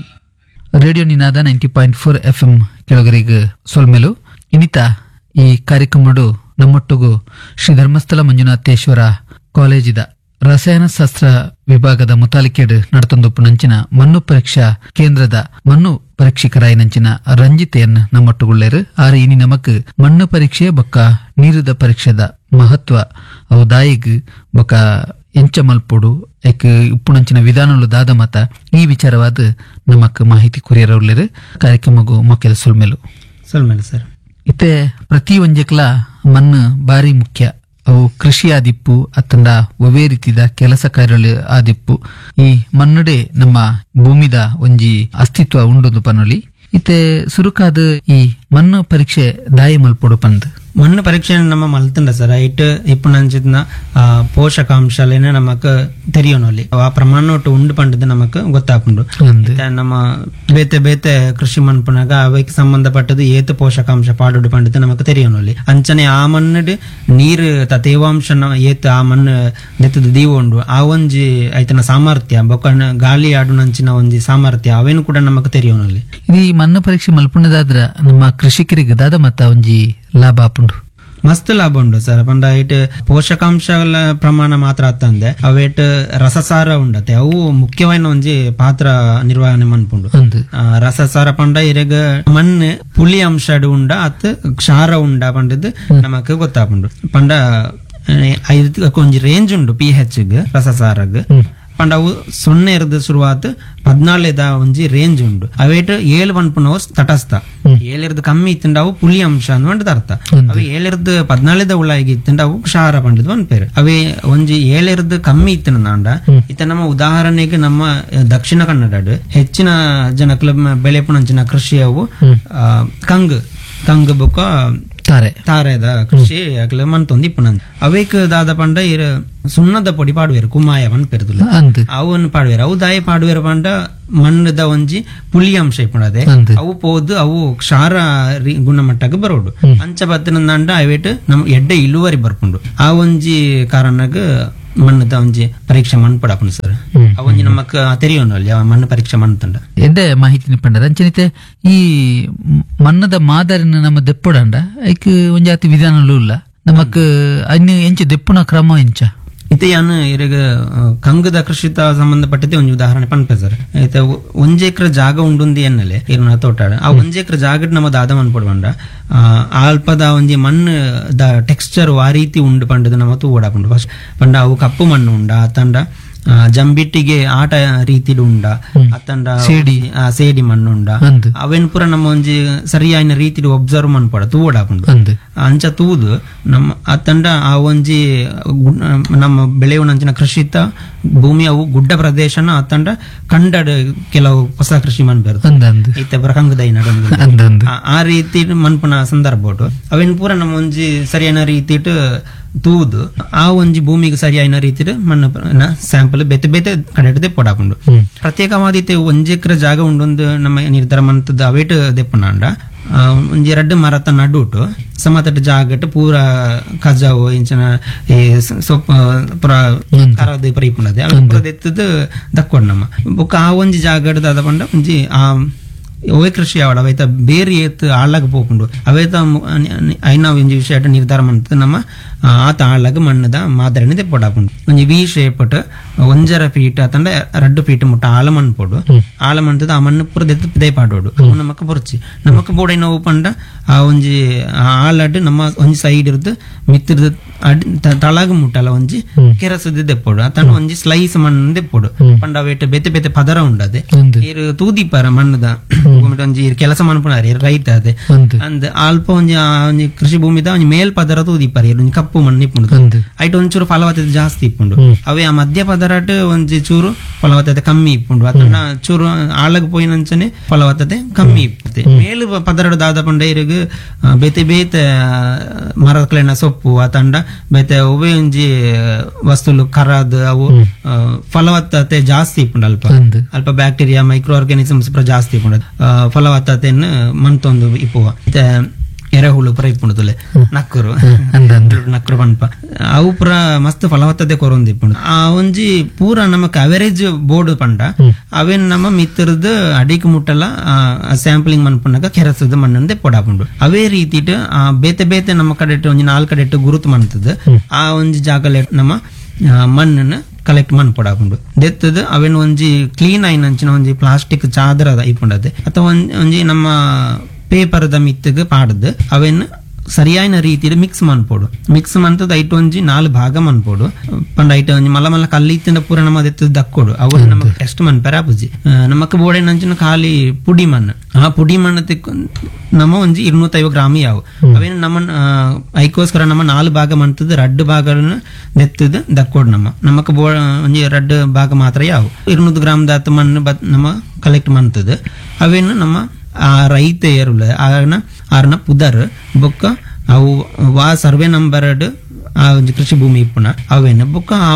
Radio Ninada ninety point four F M ಕೆಳಗರಿಗೆ ಸೊಲ್ಮೆಲು. ಇನ್ನಿತ ಈ ಕಾರ್ಯಕ್ರಮಡು ನಮ್ಮೊಟ್ಟಿಗೂ ಶ್ರೀ ಧರ್ಮಸ್ಥಳ ಮಂಜುನಾಥೇಶ್ವರ ಕಾಲೇಜಿದ ರಸಾಯನಶಾಸ್ತ್ರ ವಿಭಾಗದ ಮುತಾಲಿಕೆಡ್ ನಡತೊಂದು ನಂಚಿನ ಮಣ್ಣು ಪರೀಕ್ಷಾ ಕೇಂದ್ರದ ಮಣ್ಣು ಪರೀಕ್ಷಕರಾಯಿನಂಚಿನ ರಂಜಿತೆಯನ್ನ ನಮ್ಮೊಟ್ಟುಗುಳ್ಳೇರು. ಆರೆ ಇನಿ ನಮಕ್ ಮಣ್ಣು ಪರೀಕ್ಷೆ ಬೊಕ್ಕ ನೀರುದ ಪರೀಕ್ಷೆದ ಮಹತ್ವ ಅವು ದಾಯಿಗ್ ಬೊಕ್ಕ ಎಂಚ ಮಲ್ಪೊಡು ಎಕ್ ಉಪ್ಪುನಂಚಿನ ವಿಧಾನಲು ದಾದ ಮತ ಈ ವಿಚಾರವಾದ ನಮಕ್ ಮಾಹಿತಿ ಕೊರಿಯರವುಳ್ಳೇರು. ಕಾರ್ಯಕ್ರಮಗೂ ಮೊಕ್ಕೆದ ಸುಲ್ಮೆಲು ಸುಲ್ಮೇಲು ಸರ್. ಇತ್ತೆ ಪ್ರತಿ ಒಂಜೆಕ್ಲ ಮಣ್ಣು ಬಾರಿ ಮುಖ್ಯ. ಅವು ಕೃಷಿ ಆದಿಪ್ಪು ಅತ್ತಂಡ ಒವೇ ರೀತಿದ ಕೆಲಸ ಕಾರ್ಯ ಆದಿಪ್ಪು ಈ ಮಣ್ಣುಡೆ ನಮ್ಮ ಭೂಮಿದ ಒಂಜಿ ಅಸ್ತಿತ್ವ ಉಂಡೊಂದು ಪನೊಲಿ. ಇತ್ತೆ ಸುರುಕಾದ ಈ ಮಣ್ಣು ಪರೀಕ್ಷೆ ದಾಯಿ ಮಲ್ಪೊಡು ಪಂದ್ ಮಣ್ಣು ಪರೀಕ್ಷೆ ನಮ್ಮ ಮಲ್ತಂಡ ಸರ್ it ಇಪ್ಪುನಂಚಿನ ಪೋಷಕಾಂಶಲೇನೆ ನಮಕ್ ತೆರಿಯೋನಲ್ಲಿ ಆ ಪ್ರಮಾಣ ಉಂಡು ಪಂಡದು ನಮಕ್ ಗೊತ್ತಾಪುಂಡು. ನಮ್ಮ ಬೇತೆ ಬೇತೆ ಕೃಷಿ ಮನ್ಪುನಾಗ ಅವಕ್ಕೆ ಸಂಬಂಧಪಟ್ಟದು ಏತು ಪೋಷಕಾಂಶ ಪಾಡುಡು ಪಂಡದು ನಮಕ್ ತೆರಿಯೋನಲ್ಲಿ. ಅಂಚನೆ ಆ ಮಣ್ಣು ನೀರು ತೇವಾಂಶ ಏತು ಆ ಮಣ್ಣು ನೆತ್ತದ ದೀವುಂಡು ಆ ಒಂಜಿ ಐತನ ಸಾಮರ್ಥ್ಯ ಬೊಕ್ಕ ಗಾಳಿ ಆಡುನಂಚಿನ ಒಂಜಿ ಸಾಮರ್ಥ್ಯ ಅವೇನು ಕೂಡ ನಮಕ್ ತೆರಿಯೋನಲ್ಲಿ. ಈ ಮಣ್ಣು ಪರೀಕ್ಷೆ ಮಲ್ಪುಣದಾದ್ರ ನಮ್ಮ ಕೃಷಿಕರಿಗೆ ದಾದ ಮತ್ತ ಒಂಜಿ ಲಾಭ ಆಪುಂಡು? ಮಸ್ತ್ ಲಾಭ ಉಂಡು ಸರ್. ಪಂಡ it ಪೋಷಕಾಂಶ ಪ್ರಮಾಣ ಮಾತ್ರ ಅತ್ತಂದೆ ಅವೇಟ್ ರಸಸಾರ ಉಂಡತೆ ಅವು ಮುಖ್ಯವಾದ ಒಂಜಿ ಪಾತ್ರ ನಿರ್ವಹಣೆ ಮನ್ಪುಂಡು. ರಸಸಾರ ಪಂಡ ಇರೆಗ ಮಣ್ಣು ಪುಳಿ ಅಂಶ ಉಂಡ ಅತ್ ಕ್ಷಾರ ಉಂಡ ಪಂಡದ್ ನಮಕ್ ಗೊತ್ತಾಪುಂಡು. ಪಂಡ ಒಂಜಿ ರೇಂಜ್ ಉಂಡು ಪಿ ಹೆಚ್ ರಸಸಾರಗ್. ಪಂಡ ಅವು ಸೊನ್ನೆ ಇರದ ಶುರುವಾತ್ ಪದ್ನಾಲೇದ ಒಂಜಿ ರೇಂಜ್ ಉಂಡು. ಅವೇಟ್ ಏಳು ಪನ್ಪುನವು ತಟಸ್ಥ, ಏಳಿರ್ದು ಕಮ್ಮಿ ಇತ್ತಂಡ ಅವು ಪುಳಿ ಅಂಶ ಅಂದ್ ಅರ್ಥ. ಅವು ಏಳಿರ್ದು ಪದ್ನಾಲೇದ ಉಳಾಗಿ ಇತ್ತಂಡ ಅವು ಕ್ಷಾರ ಪಂಡದ್ ಪನ್ಪೇರು. ಅವೇ ಒಂಜಿ ಏಳಿರ್ದು ಕಮ್ಮಿ ಇತ್ತಂಡ ಇತ್ತ ನಮ್ಮ ಉದಾಹರಣೆಗೆ ನಮ್ಮ ದಕ್ಷಿಣ ಕನ್ನಡ ಹೆಚ್ಚಿನ ಜನಕ್ಲ ಬೆಳೆಪುನಂಚಿನ ಕೃಷಿ ಅವು ಕಂಗ್ ಕಂಗ್ ಬೊಕ್ಕ ತಾರೆ ತಾರೆದ ಕೃಷಿ ಅಕ್ಲ ಮನ್ತೊಂದು ಇಪ್ಪುನ. ಅವೇಕ್ ದಾದ ಪಂಡ ಇರ್ ಸುಣ್ಣದ ಪೊಡಿ ಪಾಡುವೇರು ಕುಮಾಯ ಪನ್ಪೆರ್ದುಲ್ಲ ಅವನ್ ಪಾಡುವೇರು. ಅವು ದಾಯ ಪಾಡುವೇರು ಪಂಡ ಮಣ್ಣದ ಒಂಜಿ ಪುಳಿ ಅಂಶ ಇಪ್ಪುಂಡದೆ ಅವು ಪೋದು ಅವು ಕ್ಷಾರ ಗುಣಮಟ್ಟಕ್ಕೆ ಬರೋಡು. ಅಂಚ ಬತ್ತಿನಂಡ ಅವೇಟ್ ನಮ್ ಎಡ್ಡೆ ಇಳುವರಿ ಬರ್ಪುಂಡು. ಆ ಒಂಜಿ ಕಾರಣಗ್ ಮಣ್ಣದ ಒಂಜಿ ಪರೀಕ್ಷೆ ಮಣ್ಣು ಪಡಪುಂಡು ಸರ್. ಆ ಒಂಜಿ ನಮಕ್ ತೆರಿಯೋನಲ್ಲಿ ಮಣ್ಣು ಪರೀಕ್ಷೆ ಮಣ್ಣು ತಂಡ ಎಡ್ಡೆ ಮಾಹಿತಿ ಪಂಡರ. ಅಂಚನಿತೆ ಈ ಮಣ್ಣದ ಮಾದರಿನ ನಮ್ಮ ದೆಪ್ಪುಡಂಡ ಐಕ್ ಒಂಜಾತಿ ವಿಧಾನಲೂ ಇಲ್ಲ ನಮಕ್ ಅನ್ನು ಎಂಚ ದೆಪ್ಪುನ ಕ್ರಮ ಎಂಚ? ಇತ್ತೆ ಯಾನು ಇರಗ ಕಂಗದ ಕೃಷಿತ ಸಂಬಂಧಪಟ್ಟದೆ ಒಂಜಿ ಉದಾಹರಣೆ ಪನ್ಪೆ ಸರ್. ಇತ್ತೆ ಒಂಜಿ ಎಕರೆ ಜಾಗ ಉಂಡುಂದಿ ಎನ್ನಲೆ ಇರುನ ತೋಟಾಡ ಆ ಒಂಜಿ ಎಕರೆ ಜಾಗಡ್ ನಮ್ಮ ದಾದ ಮನ್ಪೊಡು ಅಲ್ಪದ ಒಂಜಿ ಮಣ್ಣು the texture ಆ ರೀತಿ ಉಂಡು ಪಂಡದು ನಮ್ಮ ತೂವಡಾಪುಂಡು. ಫಸ್ಟ್ ಪಂಡ ಅವು ಕಪ್ಪು ಮಣ್ಣು ಉಂಡ ತಂಡ ಜಂಬಿಟ್ಟಿಗೆ ಆಟ ರೀತಿಡ್ ಉಂಡ ಅತ್ತಂಡ ಸೇಡಿ ಸೇಡಿ ಮಣ್ಣು ಉಂಡ ಅವೇನ್ ಪೂರ ನಮ್ಮ ಒಂಜಿ ಸರಿಯಾಯಿನ ರೀತಿಡ್ ಒಬ್ಸರ್ವ್ ಮನ್ಪೊಡ ತೂವಡಾಪುಂಡು. ಅಂಚ ತೂದು ನಮ್ಮ ಅತ್ತಂಡ ಆ ಒಂಜಿ ನಮ್ಮ ಬೆಳೆಯುವನಂಚಿನ ಕೃಷಿತ ಭೂಮಿ ಅವು ಗುಡ್ಡ ಪ್ರದೇಶನ ಅತ್ತಂಡ ಕಂಡಡ್ ಕೆಲವು ಹೊಸ ಕೃಷಿ ಮನ್ಪೆರ್ದು ಇತ್ತೆ ಪೂರ ಕಂಗದೈ ನಡು ಆ ರೀತಿ ಮನ್ಪುನ ಸಂದರ್ಭ ಅವೇನ್ ಪೂರ ನಮ್ಮ ಒಂಜಿ ಸರಿಯಾದ ರೀತಿಟ್ ತೂದು ಆ ಒಂಜಿ ಭೂಮಿಗೆ ಸರಿಯಾದ ರೀತಿಡ್ ಮಣ್ಣು ಸ್ಯಾಂಪಲ್ ಬೇತೆ ಬೇತೆ ಕಡೆ ದೆಪ್ಪೊಡಾಪುಂಡು. ಪ್ರತ್ಯೇಕವಾದ ಇತ್ತೆ ಒಂಜಿ ಎಕರೆ ಜಾಗ ಉಂಡೊಂದು ನಮ್ಮ ನಿರ್ಧಾರ ಮಂತದ ಅವೇಟ್ ದೆಪ್ಪುನಾಂಡ ಒಂಜಿ ರಡ್ಡು ಮರತ ನಡುಟು ಸಮತಟ್ಟ ಜಾಗಟ್ ಪೂರ ಕಜಾವು ಇಂಚಿನ ಈ ಸೊಪ್ಪು ಪೂರ ಕರದ ಪೂರ ಇಪ್ಪುಂಡದೆ ಅವು ಪೂರ ದೆತ್ತದು ದಕ್ಕೊಡು ನಮ್ಮ ಬೊಕ್ಕ ಆ ಒಂಜಿ ಜಾಗಡ್ ದಾದ ಪಂಡ ಒಂಜಿ ಆ ಒವೇ ಕೃಷಿ ಆವಡ ಅವೇತ ಬೇರೆ ಏತ್ ಆಳಾಗ ಪೋಪುಂಡು ಅವೇತ ಐನ ಒಂಜಿ ವಿಷಯ ನಿರ್ಧಾರ ಮಂತದ ನಮ್ಮ ಆತ ಆಳಾಗ ಮಣ್ಣದ ಮಾದರಿನ ದೆಪ್ಪೊಡಾಪುಂಡು. ಒಂಜಿ ವಿ ಶೇಪಟ್ ಒಂಜರ ಫೀಟ್ ಅತಂಡ ರಡ್ಡು ಫೀಟ್ ಮುಟ್ಟ ಆಳ ಮಣ್ಣು ಪೋಡು ಆಳ ಮಣ್ಣದ ಆ ಮಣ್ಣು ಪೂರ ದೆತ್ತು ಪಿದೈ ಪಾಡೋಡು ಅವು ನಮಕ್ ಬೊರ್ಚಿ ನಮಕ್ ಬೋಡೈನ ಅವು ಪಂಡ ಆ ಒಂಜಿ ಆಳಡ್ ನಮ್ಮ ಒಂಜಿ ಸೈಡ್ ಇರ್ದು ಮಿತ್ತಿರ್ದು ತಳಗ ಮುಟ್ಟಲ ಒಂಜಿ ಕೆರಸದ ದೆಪ್ಪೊಡು ಅತಂಡ ಒಂಜಿ ಸ್ಲೈಸ್ ಮಣ್ಣು ದೆಪ್ಪೊಡು ಪಂಡ ಅವೇಟ್ ಬೇತೆ ಬೇತೆ ಪದರ ಉಂಡದೆ ಇರು ತೂದಿಪಾರ ಮಣ್ಣದ ಒಂಜಿ ಕೆಲಸ ಮನ್ಪುನಾರ ರೈತ ಅದೇ ಅಂದ್ ಅಲ್ಪ ಒಂಜಿ ಒಂಜಿ ಕೃಷಿ ಭೂಮಿದ ಒಂಜಿ ಮೇಲ್ ಪದರ ತೂದಿಪಾರ ಒಂಜಿ ಕಪ್ಪು ಮಣ್ಣು ಇಪ್ಪುಂಡು ಐಟ್ ಒಂಚೂರು ಫಲವತ್ತತೆ ಜಾಸ್ತಿ ಇಪ್ಪುಂಡು. ಅವೇ ಆ ಮಧ್ಯ ಪದರಾಟ್ ಒಂಜಿ ಚೂರು ಫಲವತ್ತತೆ ಕಮ್ಮಿ ಇಪ್ಪುಂಡು ಅತನ ಚೂರು ಆಳಗ್ ಪೋಯಿನಂಚನೆ ಫಲವತ್ತತೆ ಕಮ್ಮಿ ಇಪ್ಪುತ್ತೆ. ಮೇಲ್ ಪದರಡು ದಾದ ಪಂಡ ಇರುಗ್ ಬೇತೆ ಬೇತೆ ಮರಕ್ಲೆನ ಸೊಪ್ಪು ಅತಂಡ ಬೇತೆ ಒವೇ ಒಂಜಿ ವಸ್ತುಲು ಕರಾದ್ ಅವು ಫಲವತ್ತತೆ ಜಾಸ್ತಿ ಇಪ್ಪುಂಡು. ಅಲ್ಪ ಅಲ್ಪ bacteria micro organisms ಪೂರ ಜಾಸ್ತಿ ಇಪ್ಪುಂಡು ಫಲವತ್ತತೆಯನ್ನು ಮನ್ತೊಂದು ಇಪ್ಪುವ. ಎರೆಹುಳು ಪುರ ಇಪ್ಪುಂಡು ನಕ್ಕರು ನಕ್ಕರು ಪನ್ಪ ಅವು ಪೂರ ಮಸ್ತ್ ಫಲವತ್ತತೆ ಕೊರೊಂದು ಇಪ್ಪುಂಡು. ಆ ಒಂಜಿ ಪೂರ ನಮಕ್ ಅವರೇಜ್ ಬೋರ್ಡ್ ಪಂಡ ಅವೇನ್ ನಮ್ಮ ಮಿತ್ರದ ಅಡಿಕ್ ಮುಟ್ಟಲ ಸ್ಯಾಂಪ್ಲಿಂಗ್ ಮನ್ಪುನಾಗ ಕೆರಸದ ಮಣ್ಣಂದೆ ಪೊಡಾಪುಂಡು. ಅವೇ ರೀತಿಟ್ ಆ ಬೇತೆ ಬೇತೆ ನಮ್ಮ ಕಡೆಟ್ ಒಂಜಿ ನಾಲ್ಕು ಕಡೆಟ್ ಗುರುತು ಮನ್ತದ ಆ ಒಂಜಿ ಜಾಗಲೆ ನಮ್ಮ ಮಣ್ಣನ್ನು Collect ಮನ್ಪೊಡಾಪುಂಡು. ದೆತ್ತದು ಅವೆನ್ ಒಂಜಿ ಕ್ಲೀನ್ ಆಯಿನಂಚಿನ ಒಂಜಿ ಪ್ಲಾಸ್ಟಿಕ್ ಚಾದರ ಇಪ್ಪುಂಡತೆ ಅಥವಾ ಒಂಜಿ ನಮ್ಮ ಪೇಪರ್ದ ಮಿತ್ತಗ್ ಪಾಡ್ದು ಅವೆನ್ ಸರಿಯಾಯಿನ ರೀತಿಯಲ್ಲಿ ಮಿಕ್ಸ್ ಮನ್ಪೊಡು. ಮಿಕ್ಸ್ ಮಂತದ ಐಟ್ ಒಂಜಿ ನಾಲ್ ಭಾಗ ಮನ್ಪೊಡು. ಪಂಡ ಐಟ್ ಒಂಜಿ ಮಲ್ಲ ಮಲ್ಲ ಕಲ್ಲು ಇತ್ತಿನ ಪೂರ ನಮ್ಮ ದೆತ್ತದ ದಕ್ಕೊಡು ಅವು ನಮಕ್ ಟೆಸ್ಟ್ ಮನ್ಪೆರ ಆಪುಜಿ. ನಮಕ್ ಬೋಡೆನಂಚಿನ ಖಾಲಿ ಪುಡಿ ಮಣ್ಣು, ಆ ಪುಡಿ ಮಣ್ಣು ತಿಕ್ ನಮ್ಮ ಒಂಜಿ ഇരുന്നೂತೈವ ಗ್ರಾಮ್ ಯಾವು ಅವೇನು ನಮ್ಮ ಐಕೋಸ್ಕರ ನಮ್ಮ ನಾಲ್ ಭಾಗ ಮಂತದ ರಡ್ಡು ಭಾಗಗಳನ್ನು ದೆತ್ತದ ದಕ್ಕೊಡು. ನಮ್ಮ ನಮಕ್ ಬೋ ಒಂಜಿ ರಡ್ಡು ಭಾಗ ಮಾತ್ರ ಯಾವು ഇരുന്നೂರು ಗ್ರಾಮ್ ದಾತ ಮಣ್ಣು ನಮ್ಮ ಕಲೆಕ್ಟ್ ಮಂತದ ಅವೇನು ನಮ್ಮ ಆ ರೈತ ಏರುಲ್ಲ ಆನ ಆರ್ನ ಪುದರ್ ಬೊಕ್ಕ ಅವು ವಾ ಸರ್ವೆ ನಂಬರ್ ಆ ಒಂಜಿ ಕೃಷಿ ಭೂಮಿ ಇಪ್ಪುನ ಅವೇನ ಬೊಕ್ಕ ಆ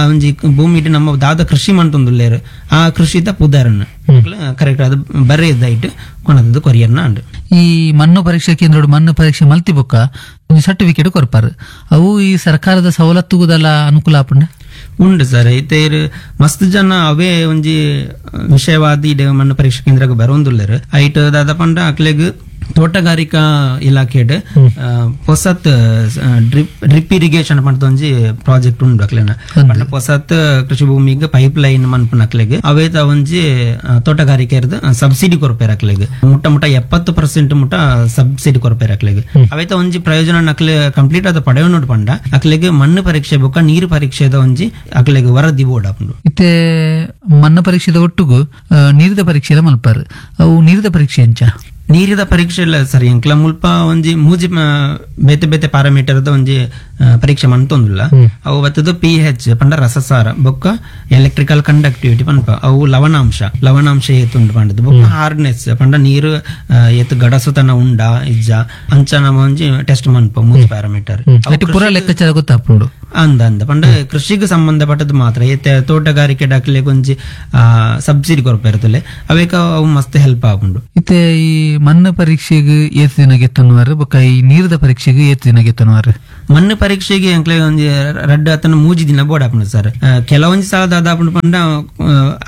ಒಂಜಿ ಭೂಮಿ ನಮ್ಮ ದಾದ ಕೃಷಿ ಮಂತೊಂದುಲ್ಲೇರು ಆ ಕೃಷಿದ ಪುದರ್ನ ಕರೆಕ್ಟ್ ಅದು ಬರೆಯದಾಯ್ತು ಕೊನದದ್ದು ಕೊರಿಯರ್ನ ಅಂಡು. ಈ ಮಣ್ಣು ಪರೀಕ್ಷಾ ಕೇಂದ್ರ ಮಣ್ಣು ಪರೀಕ್ಷೆ ಮಲ್ತಿ ಬೊಕ್ಕ ಒಂಜಿ ಸರ್ಟಿಫಿಕೇಟ್ ಕೊರ್ಪಾರು, ಅವು ಈ ಸರ್ಕಾರದ ಸವಲತ್ತುಗುದಲ್ಲ ಅನುಕೂಲ ಆಪುಂಡ ಉಂಡು ಸರ್. ಇತ್ತೆ ಮಸ್ತ್ ಜನ ಅವೇ ಒಂಜಿ ವಿಷಯವಾದಿ ಮಣ್ಣು ಪರೀಕ್ಷಾ ಕೇಂದ್ರಕ್ಕೆ ಬರೋಂದುಲ್ಲೇರು. ಐಟ್ ದಾದ ಪಂಡ ಅಕ್ಲೆಗ್ ತೋಟಗಾರಿಕಾ ಇಲಾಖೆಡ್ ಪೊಸತ್ drip drip irrigation ಪಂಡ ಒಂಜಿ ಪ್ರಾಜೆಕ್ಟ್ ಉಂಡು ಅಕ್ಲೆನ. ಪಂಡ ಪೊಸತ್ ಕೃಷಿ ಭೂಮಿಗೆ ಪೈಪ್ ಲೈನ್ ಮನ್ಪುನ ಅಕ್ಲೆಗ್ ಅವೇತ ಒಂಜಿ ತೋಟಗಾರಿಕೆ ಸಬ್ಸಿಡಿ ಕೊರ್ಪೇರ್ ಅಕ್ಲೆಗ್ ಮುಟ್ಟ ಮುಟ್ಟ ಎಪ್ಪತ್ತು ಪರ್ಸೆಂಟ್ ಮುಟ್ಟ ಸಬ್ಸಿಡಿ ಕೊರ್ಪೇರ್ ಅಕ್ಲೆಗ್. ಅವೇತ ಒಂಜಿ ಪ್ರಯೋಜನ ಅಕ್ಲೆ ಕಂಪ್ಲೀಟ್ ಆದ ಪಡೆಯೋನು ಪಂಡ ಅಕ್ಲೆಗ್ ಮಣ್ಣು ಪರೀಕ್ಷೆ ಬೊಕ್ಕ ನೀರು ಪರೀಕ್ಷೆದ ಒಂಜಿ ಅಕ್ಲೆಗ್ ವರದಿ ಬೋರ್ಡ್ ಆಪುಂಡು. ಇತ್ತೆ ಮಣ್ಣು ಪರೀಕ್ಷೆದ ಒಟ್ಟುಗು ನೀರಿದ ಪರೀಕ್ಷೆ ಮಲ್ಪಾರು, ಅವು ನೀರಿದ ಪರೀಕ್ಷೆ ಅಂಚ ನೀರಿದ ಪರೀಕ್ಷೆ ಇಲ್ಲ ಸರ್. ಎಂಕ್ಲ ಮುಲ್ಪ ಒಂಜಿ ಮೂಜಿ ಬೇತೆ ಬೇತೆ ಪ್ಯಾರಾಮೀಟರ್ದ ಒಂಜಿ ಪರೀಕ್ಷೆ ಮಂತೊಂದುಲ್ಲ. ಅವು ಬತ್ತದ ಪಿ ಎಚ್ ಪಂಡ ರಸಸಾರ ಬೊಕ್ಕ ಎಲೆಕ್ಟ್ರಿಕಲ್ ಕಂಡಕ್ಟಿವಿಟಿ ಪನ್ಪ ಅವು ಲವಣಾಂಶ ಲವಣಾಂಶ ಏತುಂಡು ಪಂಡದು ಬೊಕ್ಕ ಹಾರ್ಡ್ನೆಸ್ ಪಂಡ ನೀರು ಏತು ಗಡಸುತನ ಉಂಡ ಇಜ್ಜ ಅಂಚ ನಮ್ಮ ಒಂಜಿ ಟೆಸ್ಟ್ ಮನ್ಪ ಮೂಜಿ ಪ್ಯಾರಾಮೀಟರ್ ಪೂರ ಲೆಕ್ಕಾಚಾರ ಗೊತ್ತಾಪುಂಡು ಅಂದ ಅಂದ ಪಂಡ ಕೃಷಿಗೆ ಸಂಬಂಧಪಟ್ಟದ್ದು ಮಾತ್ರ. ಏತೆ ತೋಟಗಾರಿಕೆ ಡಾಕ್ಲೆಗ್ ಒಂಜಿ ಸಬ್ಸಿಡಿ ಕೊರಪ ಇರ್ತಲೆ ಅವೇಕ ಅವು ಮಸ್ತ್ ಹೆಲ್ಪ್ ಆಪುಂಡು. ಇತ್ತೆ ಈ ಮಣ್ಣು ಪರೀಕ್ಷೆಗೆ ಏತ್ ದಿನ ಗೆತ್ತನುವಾರು ಬೊಕ್ಕ ಈ ನೀರದ ಪರೀಕ್ಷೆಗೆ ಏತ್ ದಿನ ಗೆತ್ತನುವಾರು? ಮಣ್ಣು ಪರೀಕ್ಷೆಗೆ ಎಂಕ್ಲೆ ಒಂಜಿ ರಡ್ಡು ಅತನ ಮೂಜಿ ದಿನ ಬೋರ್ಡ್ ಆಪುಂಡು ಸರ್. ಕೆಲವೊಂಜಿ ಸಲ ದಾದಾಪುಂಡು ಪಂಡ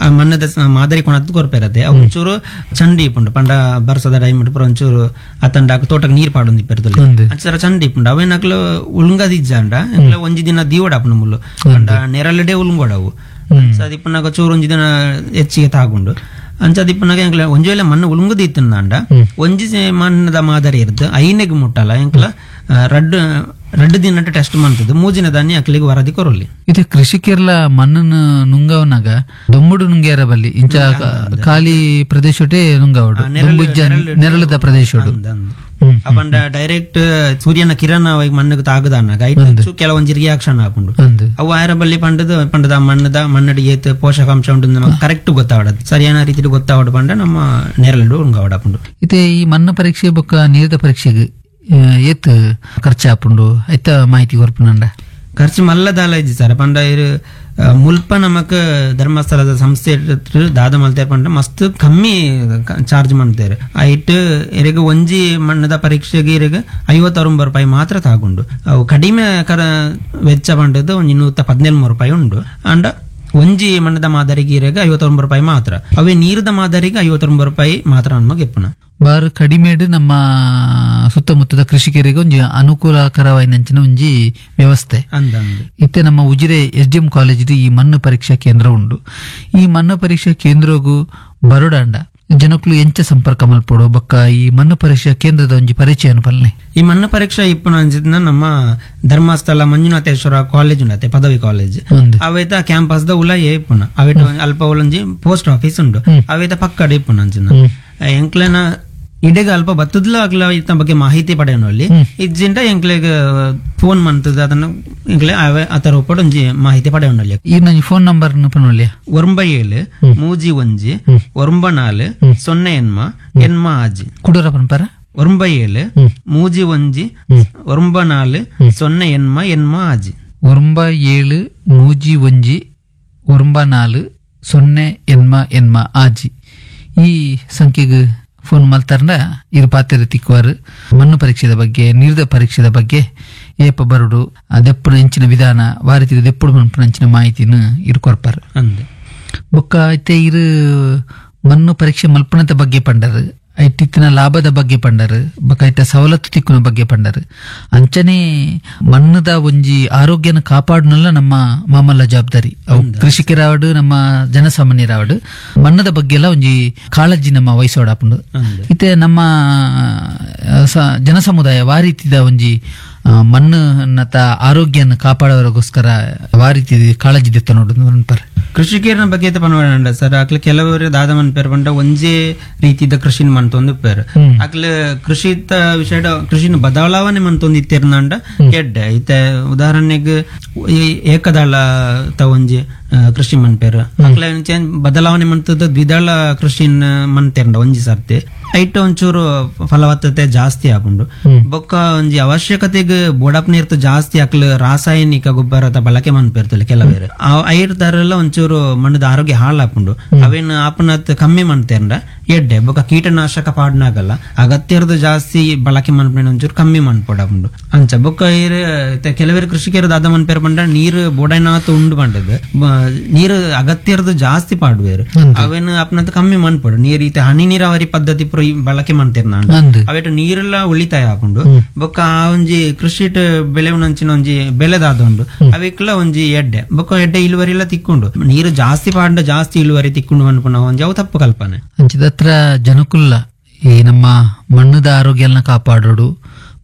ಆ ಮಣ್ಣದ ಮಾದರಿ ಕೊಣತ್ತು ಕೊರಪೆ ಇರತ್ತೆ ಅವು ಒಂಚೂರು ಚಂಡಿ ಇಪ್ಪುಂಡು ಪಂಡ ಬರ್ಸದ ಟೈಮ್ ಪೂರ ಒಂಚೂರು ಅತಂಡ ತೋಟಕ್ಕೆ ನೀರು ಪಾಡೊಂದು ಇಪ್ಪಿರ್ತಲೆ ಅಂಚರ ಚಂಡಿ ಇಪ್ಪುಂಡು ಅವೇನಕ್ಲು ಉಳುಂಗದಿಜ್ಜಾಂಡ ಎಂಕ್ಲೆ ಒಂಜಿ ದಿನ ದೀವಡಾಪುಂಡು ಮುಲ್ಲು ಪಂಡ ನೆರಳಡೆ ಉಳುಂಗೋಡವು ಅದಿಪ್ಪುನಾಗ ಚೂರು ಒಂಜಿ ದಿನ ಹೆಚ್ಚಿಗೆ ತಾಗುಂಡು ಅಂಚ ದಿಪ್ಪನಾಗ ಎಂಕ್ಲ ಒಂಜಿ ವೇಳೆ ಮಣ್ಣು ಉಳುಂಗುದು ಇತ್ತಂಡ ಒಂಜಿ ಮಣ್ಣದ ಮಾದರಿ ಇರ್ತದೆ ಐನೆಗ್ ಮುಟ್ಟಲ್ಲ ಎಂಕ್ಲ ರಡ್ಡು ರಡ್ಡು ದಿನ ಟೆಸ್ಟ್ ಮಾಡ್ತದೆ ಮೂಜಿನ ಧಾನ್ಯ ಅಕ್ಲಿಗೆ ವರದಿ ಕೊರಲಿ. ಇದು ಕೃಷಿಕರ್ಲ ಮಣ್ಣನ್ನು ನುಂಗವನಾಗ ದೊಂಬುಡು ನುಂಗ್ಯಾರ ಬಲ್ಲಿ ಇಂಚ ಖಾಲಿ ಪ್ರದೇಶಟೇ ನುಂಗವಡು ನೆರಳದ ಪ್ರದೇಶಡು ಪಂಡ ಡೈರೆಕ್ಟ್ ಸೂರ್ಯನ ಕಿರಣ ಮಣ್ಣಿಗೆ ತಾಗದಾನಾಗ ಕೆಲವೊಂಜಿ ರಿಯಾಕ್ಷನ್ ಆಪುಂಡು ಅವು ಆಯರ ಬಲ್ಲಿ ಪಂಡದ ಪಂಡದ ಮಣ್ಣದ ಮಣ್ಣಡಿ ಏತ್ ಪೋಷಕಾಂಶ ಉಂಟು ನಮಗೆ ಕರೆಕ್ಟ್ ಗೊತ್ತಾವಡದು ಸರಿಯಾದ ರೀತಿಯಲ್ಲಿ ಗೊತ್ತಾವಡ ಪಂಡ ನಮ್ಮ ನೆರಳು ಉಂಗಾವಡಪುಂಡು. ಇತ್ತೆ ಈ ಮಣ್ಣು ಪರೀಕ್ಷೆ ಬೊಕ್ಕ ನೀರಿದ ಪರೀಕ್ಷೆಗೆ ಏತ್ ಖರ್ಚಾಪುಂಡು ಐತ ಮಾಹಿತಿ ಕೊರ್ಪುನಂಡ? ಖರ್ಚು ಮಲ್ಲದಾಲ ಇಜ್ಜಿ ಸರ್. ಪಂಡ ಇರು ಮುಲ್ಪ ನಮಕ್ ಧರ್ಮಸ್ಥಳದ ಸಂಸ್ಥೆ ದಾದ ಮಲ್ತೇರ್ ಪಂಡ ಮಸ್ತ್ ಕಮ್ಮಿ ಚಾರ್ಜ್ ಮಾಡ್ತೇವೆ. ಐಟ್ ಇರಗ ಒಂಜಿ ಮಣ್ಣದ ಪರೀಕ್ಷೆಗೆ ಇರಗ ಐವತ್ತೊಂಬತ್ತು ರೂಪಾಯಿ ಮಾತ್ರ ತಾಗುಂಡು. ಅವು ಕಡಿಮೆ ಕರ ವೆಚ್ಚ ಪಂಡದ್ದು ಒಂಜಿ ನೂತ ಪದಿನೇಳು ರೂಪಾಯಿ ಉಂಡು. ಅಂಡ ಒಂಜಿ ಮಣ್ಣದ ಮಾದರಿಗೆ ಇರಗ ಐವತ್ತೊಂಬತ್ತು ರೂಪಾಯಿ ಮಾತ್ರ, ಅವೇ ನೀರದ ಮಾದರಿಗೆ ಐವತ್ತೊಂಬತ್ತು ರೂಪಾಯಿ ಮಾತ್ರ ನಮಗೆ ಎಪ್ಪುನ. ಬಾರು ಕಡಿಮೆಡ್ ನಮ್ಮ ಸುತ್ತಮುತ್ತದ ಕೃಷಿಕರಿಗೆ ಒಂಜಿ ಅನುಕೂಲಕರವಾಯಿನಂಚಿನ ಒಂಜಿ ವ್ಯವಸ್ಥೆ. ಇತ್ತೆ ನಮ್ಮ Ujire S D M college ಈ ಮಣ್ಣು ಪರೀಕ್ಷಾ ಕೇಂದ್ರ ಉಂಡು. ಈ ಮಣ್ಣು ಪರೀಕ್ಷಾ ಕೇಂದ್ರಗೂ ಬರೋಡಾಂಡ ಜನಕ್ಕೂ ಎಂಚ ಸಂಪರ್ಕ ಮಲ್ಪೊಡು ಬೊಕ್ಕ ಈ ಮಣ್ಣು ಪರೀಕ್ಷಾ ಕೇಂದ್ರದ ಒಂಜಿ ಪರಿಚಯ ಪಲ್ಲೆ. ಈ ಮಣ್ಣು ಪರೀಕ್ಷಾ ಇಪ್ಪುನ ನಮ್ಮ ಧರ್ಮಸ್ಥಳ ಮಂಜುನಾಥೇಶ್ವರ ಕಾಲೇಜ್ ಉಂಡತೆ ಪದವಿ ಕಾಲೇಜ್ ಅವೇತ ಕ್ಯಾಂಪಸ್ ದ ಉಲ ಇಪ್ಪುನ ಅವೇಟ ಅಲ್ಪ ಉಲಂಜಿ ಪೋಸ್ಟ್ ಆಫೀಸ್ ಉಂಡು ಅವೇತ ಪಕ್ಕಡೆ ಇಪ್ಪುನ ಅಂಚಿನ ಎಂಕ್ಲೆನ ಇಡೆಗ ಅಲ್ಪ ಬತ್ತದ್ಲ ಅಗ್ಲ ಇತ್ತ ಬಗ್ಗೆ ಮಾಹಿತಿ ಪಡೆಯೋನಲ್ಲಿ ಇಜ್ಜಿಂಡ ಎಂಕ್ಲೆಗ್ ಫೋನ್ ಮಂತದ ಅದನ್ನ ಎಂಕ್ಲೆ ಆತರ ಒಪ್ಪಡು ಒಂಜಿ ಮಾಹಿತಿ ಪಡೆಯೋನಲ್ಲಿ. ಈ ನಂಜಿ ಫೋನ್ ನಂಬರ್ ಪನೊಲ್ಯ? ಒಂಬ ಏಳು ಮೂಜಿ ಒಂಜಿ ಒಂಬ ನಾಲು ಸೊನ್ನೆ ಎನ್ಮ ಎನ್ಮ ಆಜಿ. ಕುಡೂರ ಪನ್ಪರ? ಒಂಬ ಏಳು ಮೂಜಿ ಒಂಜಿ ಒಂಬ ನಾಲು ಸೊನ್ನೆ ಎನ್ಮ ಎನ್ಮ ಆಜಿ. ಒಂಬ ಏಳು ಮೂಜಿ ಒಂಜಿ ಒಂಬ ನಾಲು ಸೊನ್ನೆ ಎನ್ಮ ಎನ್ಮ ಆಜಿ ಈ ಸಂಖ್ಯೆಗೆ ಫೋನ್ ಮಲ್ತಾರ್ನ ಇರು ಪಾತ್ರೆ ತಿಕ್ಕುವಾರು. ಮಣ್ಣು ಪರೀಕ್ಷೆದ ಬಗ್ಗೆ ನೀರಿದ ಪರೀಕ್ಷೆದ ಬಗ್ಗೆ ಏಪ ಬರುಡು ಆ ದೆಪ್ಪುನ ಅಂಚಿನ ವಿಧಾನ ವಾರಿತಿದ ದೆಪ್ಪುಡು ಮನ್ಪುನ ಅಂಚಿನ ಮಾಹಿತಿನ ಇರು ಕೊರ್ಪಾರು. ಬೊಕ್ಕ ಇತ್ತೆ ಇರು ಮಣ್ಣು ಪರೀಕ್ಷೆ ಮಲ್ಪುನದ ಬಗ್ಗೆ ಪಂಡರು ಐಟಿತ್ತಿನ ಲಾಭದ ಬಗ್ಗೆ ಪಂಡರು ಬೊಕ ಐತ ಸವಲತ್ತು ತಿಕ್ಕುನ ಬಗ್ಗೆ ಪಂಡರು. ಅಂಚನೆ ಮಣ್ಣದ ಒಂಜಿ ಆರೋಗ್ಯನ ಕಾಪಾಡುನಲ್ಲ ನಮ್ಮ ಮಾಮಲ್ಲ ಜವಾಬ್ದಾರಿ. ಅವು ಕೃಷಿಕರಾವಡು ನಮ್ಮ ಜನಸಾಮಾನ್ಯರಾವಡು ಮಣ್ಣದ ಬಗ್ಗೆ ಎಲ್ಲ ಒಂಜಿ ಕಾಳಜಿ ನಮ್ಮ ವಯಸ್ಸೋಡಾಪುಂಡು. ಇತ್ತೆ ನಮ್ಮ ಜನಸಮುದಾಯ ವಾರೀತಿದ ಒಂಜಿ ಮಣ್ಣು ಆರೋಗ್ಯನ ಕಾಪಾಡೋರಿಗೋಸ್ಕರ ವಾರೀತಿ ಕಾಳಜಿ ದೆತ್ತ ನೋಡು. ಕೃಷಿಕರನ ಬಗ್ಗೆ ಪನ್ವಡ ಸರ್, ಅಕ್ಲ ಕೆಲವರು ದಾದ ಮನ್ಪೇರ್ ಪಂಡ ಒಂಜೇ ರೀತಿದ ಕೃಷಿನ ಮನ್ತೊಂದು ಪೇರ್ ಅಕ್ಲ ಕೃಷಿತ ವಿಷಯ ಕೃಷಿನ ಬದಲಾವಣೆ ಮನ್ತೊಂದು ಇತ್ತಿರ್ನಂಡ ಎಡ್ಡೆ. ಇತ್ತೆ ಉದಾಹರಣೆಗೆ ಏಕದಳ ತ ಒಂಜಿ ಕೃಷಿ ಮನ್ಪೇರ್ ಅಕ್ಲ ಬದಲಾವಣೆ ಮಂತದ ದ್ವಿದಳ ಕೃಷಿನ ಮನ್ತೇರ್ಂಡ ಒಂಜಿ ಸರ್ತಿ ಐಟ್ ಒಂಚೂರು ಫಲವತ್ತತೆ ಜಾಸ್ತಿ ಆಪುಂಡು. ಬೊಕ್ಕ ಒಂಜಿ ಅವಶ್ಯಕತೆಗೆ ಬೋಡಪ್ ನೀರ್ತು ಜಾಸ್ತಿ ಅಕ್ಲ ರಾಸಾಯನಿಕ ಗೊಬ್ಬರದ ಬಳಕೆ ಮನ್ಪೇರ್ತಲ್ಲ ಕೆಲವೇರು ಐರ್ ತರಲ್ಲ ಒಂಚೂರು ಮಣ್ಣದ ಆರೋಗ್ಯ ಹಾಳಾಪುಂಡು. ಅವೇನು ಆಪನತ್ ಕಮ್ಮಿ ಮನ್ತೇರ್ಂಡ ಎಡ್ಡೆ. ಬೊಕ್ಕ ಕೀಟನಾಶಕ ಪಾಡ್ನಾಗಲ್ಲ ಅಗತ್ಯರ್ದು ಜಾಸ್ತಿ ಬಳಕೆ ಮನ್ಪೇಣ ಒಂಚೂರು ಕಮ್ಮಿ ಮನ್ಪೋಡಾಪುಂಡು ಅಂಚ. ಬೊಕ್ಕ ಏರ್ ಕೆಲವೇರು ಕೃಷಿಕರು ದಾದ ಮನ್ಪೇರ್ ಪಂಡ ನೀರು ಬೋಡೈನಾತ್ ಉಂಡು ಪಂಡದು ನೀರು ಅಗತ್ಯರ್ದು ಜಾಸ್ತಿ ಪಾಡುವೇರು ಅವೇನು ಆಪನತ್ ಕಮ್ಮಿ ಮನ್ಪೋಡು. ನೀರು ಈತ ಹನಿ ನೀರಾವರಿ ಪದ್ಧತಿ ಪೂರ ಬಳಕೆ ಮಾಡ್ತೇರ್ ನಾನು ಅವೇಟ ನೀರೆಲ್ಲ ಉಳಿತಾಯ ಹಾಕೊಂಡು ಬೊಕ್ಕ ಆ ಒಂಜಿ ಕೃಷಿಟ್ ಬೆಳೆವನಂಚಿನ ಒಂಜಿ ಬೆಳೆದಾದ ಉಂಡು ಅವೆಕ್ಲ ಒಂಜಿ ಎಡ್ಡೆ. ಬೊಕ್ಕ ಎಡ್ಡೆ ಇಳುವರಿ ಎಲ್ಲ ತಿಕ್ಕೊಂಡು ನೀರು ಜಾಸ್ತಿ ಪಾಂಡ ಜಾಸ್ತಿ ಇಳುವರಿ ತಿಕ್ಕೊಂಡು ಅನ್ಪುನ ಒಂಜಿ ಅವು ತಪ್ಪು ಕಲ್ಪನೆ. ಅಂಚಿದತ್ರ ಜನಕುಲ್ಲ ಈ ನಮ್ಮ ಮಣ್ಣದ ಆರೋಗ್ಯನ ಕಾಪಾಡೋಡು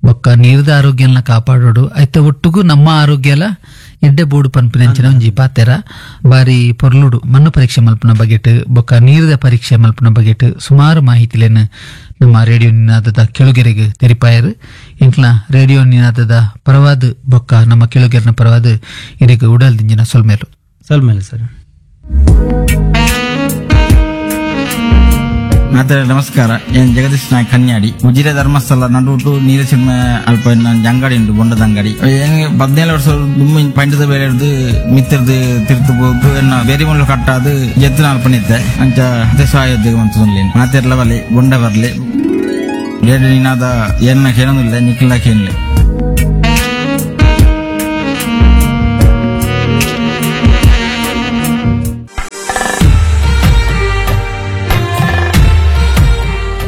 ಬೊಕ್ಕ ನೀರದ ಆರೋಗ್ಯನ ಕಾಪಾಡೋಡು ಐತ ಒಟ್ಟುಗು ನಮ್ಮ ಆರೋಗ್ಯ ಎಲ್ಲ ಎಡ್ಡೆ ಬೋಡು ಪನ್ಪಿನಂಚಿನ ಒಂಜಿ ಪಾತೆರ ಬಾರಿ ಪೊರ್ಲುಡು. ಮಣ್ಣು ಪರೀಕ್ಷೆ ಮಲ್ಪುನ ಬಗೆಟ್ ಬೊಕ್ಕ ನೀರದ ಪರೀಕ್ಷೆ ಮಲ್ಪುನ ಬಗೆಟ್ ಸುಮಾರು ಮಾಹಿತಿಲೇನು ನಮ್ಮ ರೇಡಿಯೋ ನಿನಾದದ ಕೆಳುಗೆರೆಗೆ ತೆರಿಪಾಯರು. ಇಂಕ್ಲ ರೇಡಿಯೋ ನಿನಾದದ ಪರವಾದ ಬೊಕ್ಕ ನಮ್ಮ ಕೆಳುಗೆರೆನ ಪರವಾದ ಇರೆಗೆ ಉಡಲ್ ದಿಂಜಿನ ಸೊಲ್ಮೇಲು. ಸೊಲ್ಮೇಲು ಸರ್. ಮಾತರೆ ನಮಸ್ಕಾರ. ಏನ್ ಜಗದೀಶ್ ನಾಯಕ್ ಕನ್ಯಾಡಿ, ಉಜಿರೆ ಧರ್ಮಸ್ಥಳ ನಡುಟು ನೀರಸಿಂಹ ಅಲ್ಪ ಅಂಗಡಿ ಉಂಟು, ಬೊಂಡದ ಅಂಗಡಿ. ಏನ್ ಪದ್ನೇಳು ವರ್ಷ ದುಮ್ಮಿ ಪಂಡದ ಬೇರೆ ಹಿಡ್ದು ಮಿತ್ರದು ತಿರ್ತು ಹೋದು ಎನ್ನ ಬೇರೆ ಮುಳ್ಳು ಕಟ್ಟಾದು ಎದ್ದು ಅಲ್ಪ ನಿತ್ತೆ ಅಂಚ ಸಹಾಯ ಅಂತ ಮಾತೆರ್ಲ ಬರಲಿ ಬೊಂಡ ಬರ್ಲಿ ಬೇರೆ ನೀನಾದ ಏನ ಕೇಳೋದಿಲ್ಲ ನಿಕ್ಲ ಕೇಳಲಿ.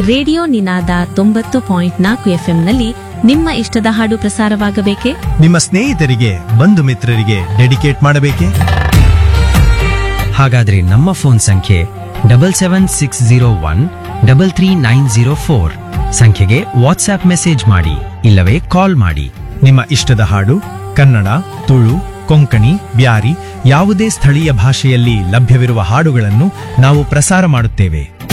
ರೇಡಿಯೋ ನಿನಾದ ತೊಂಬತ್ತು ಪಾಯಿಂಟ್ ನಾಲ್ಕು ಎಫ್ಎಂನಲ್ಲಿ ನಿಮ್ಮ ಇಷ್ಟದ ಹಾಡು ಪ್ರಸಾರವಾಗಬೇಕೇ? ನಿಮ್ಮ ಸ್ನೇಹಿತರಿಗೆ, ಬಂಧು ಮಿತ್ರರಿಗೆ ಡೆಡಿಕೇಟ್ ಮಾಡಬೇಕೇ? ಹಾಗಾದ್ರೆ ನಮ್ಮ ಫೋನ್ ಸಂಖ್ಯೆ double seven six zero one double three nine zero four ಸಂಖ್ಯೆಗೆ ವಾಟ್ಸ್ಆಪ್ ಮೆಸೇಜ್ ಮಾಡಿ ಇಲ್ಲವೇ ಕಾಲ್ ಮಾಡಿ. ನಿಮ್ಮ ಇಷ್ಟದ ಹಾಡು ಕನ್ನಡ, ತುಳು, ಕೊಂಕಣಿ, ಬ್ಯಾರಿ ಯಾವುದೇ ಸ್ಥಳೀಯ ಭಾಷೆಯಲ್ಲಿ ಲಭ್ಯವಿರುವ ಹಾಡುಗಳನ್ನು ನಾವು ಪ್ರಸಾರ ಮಾಡುತ್ತೇವೆ.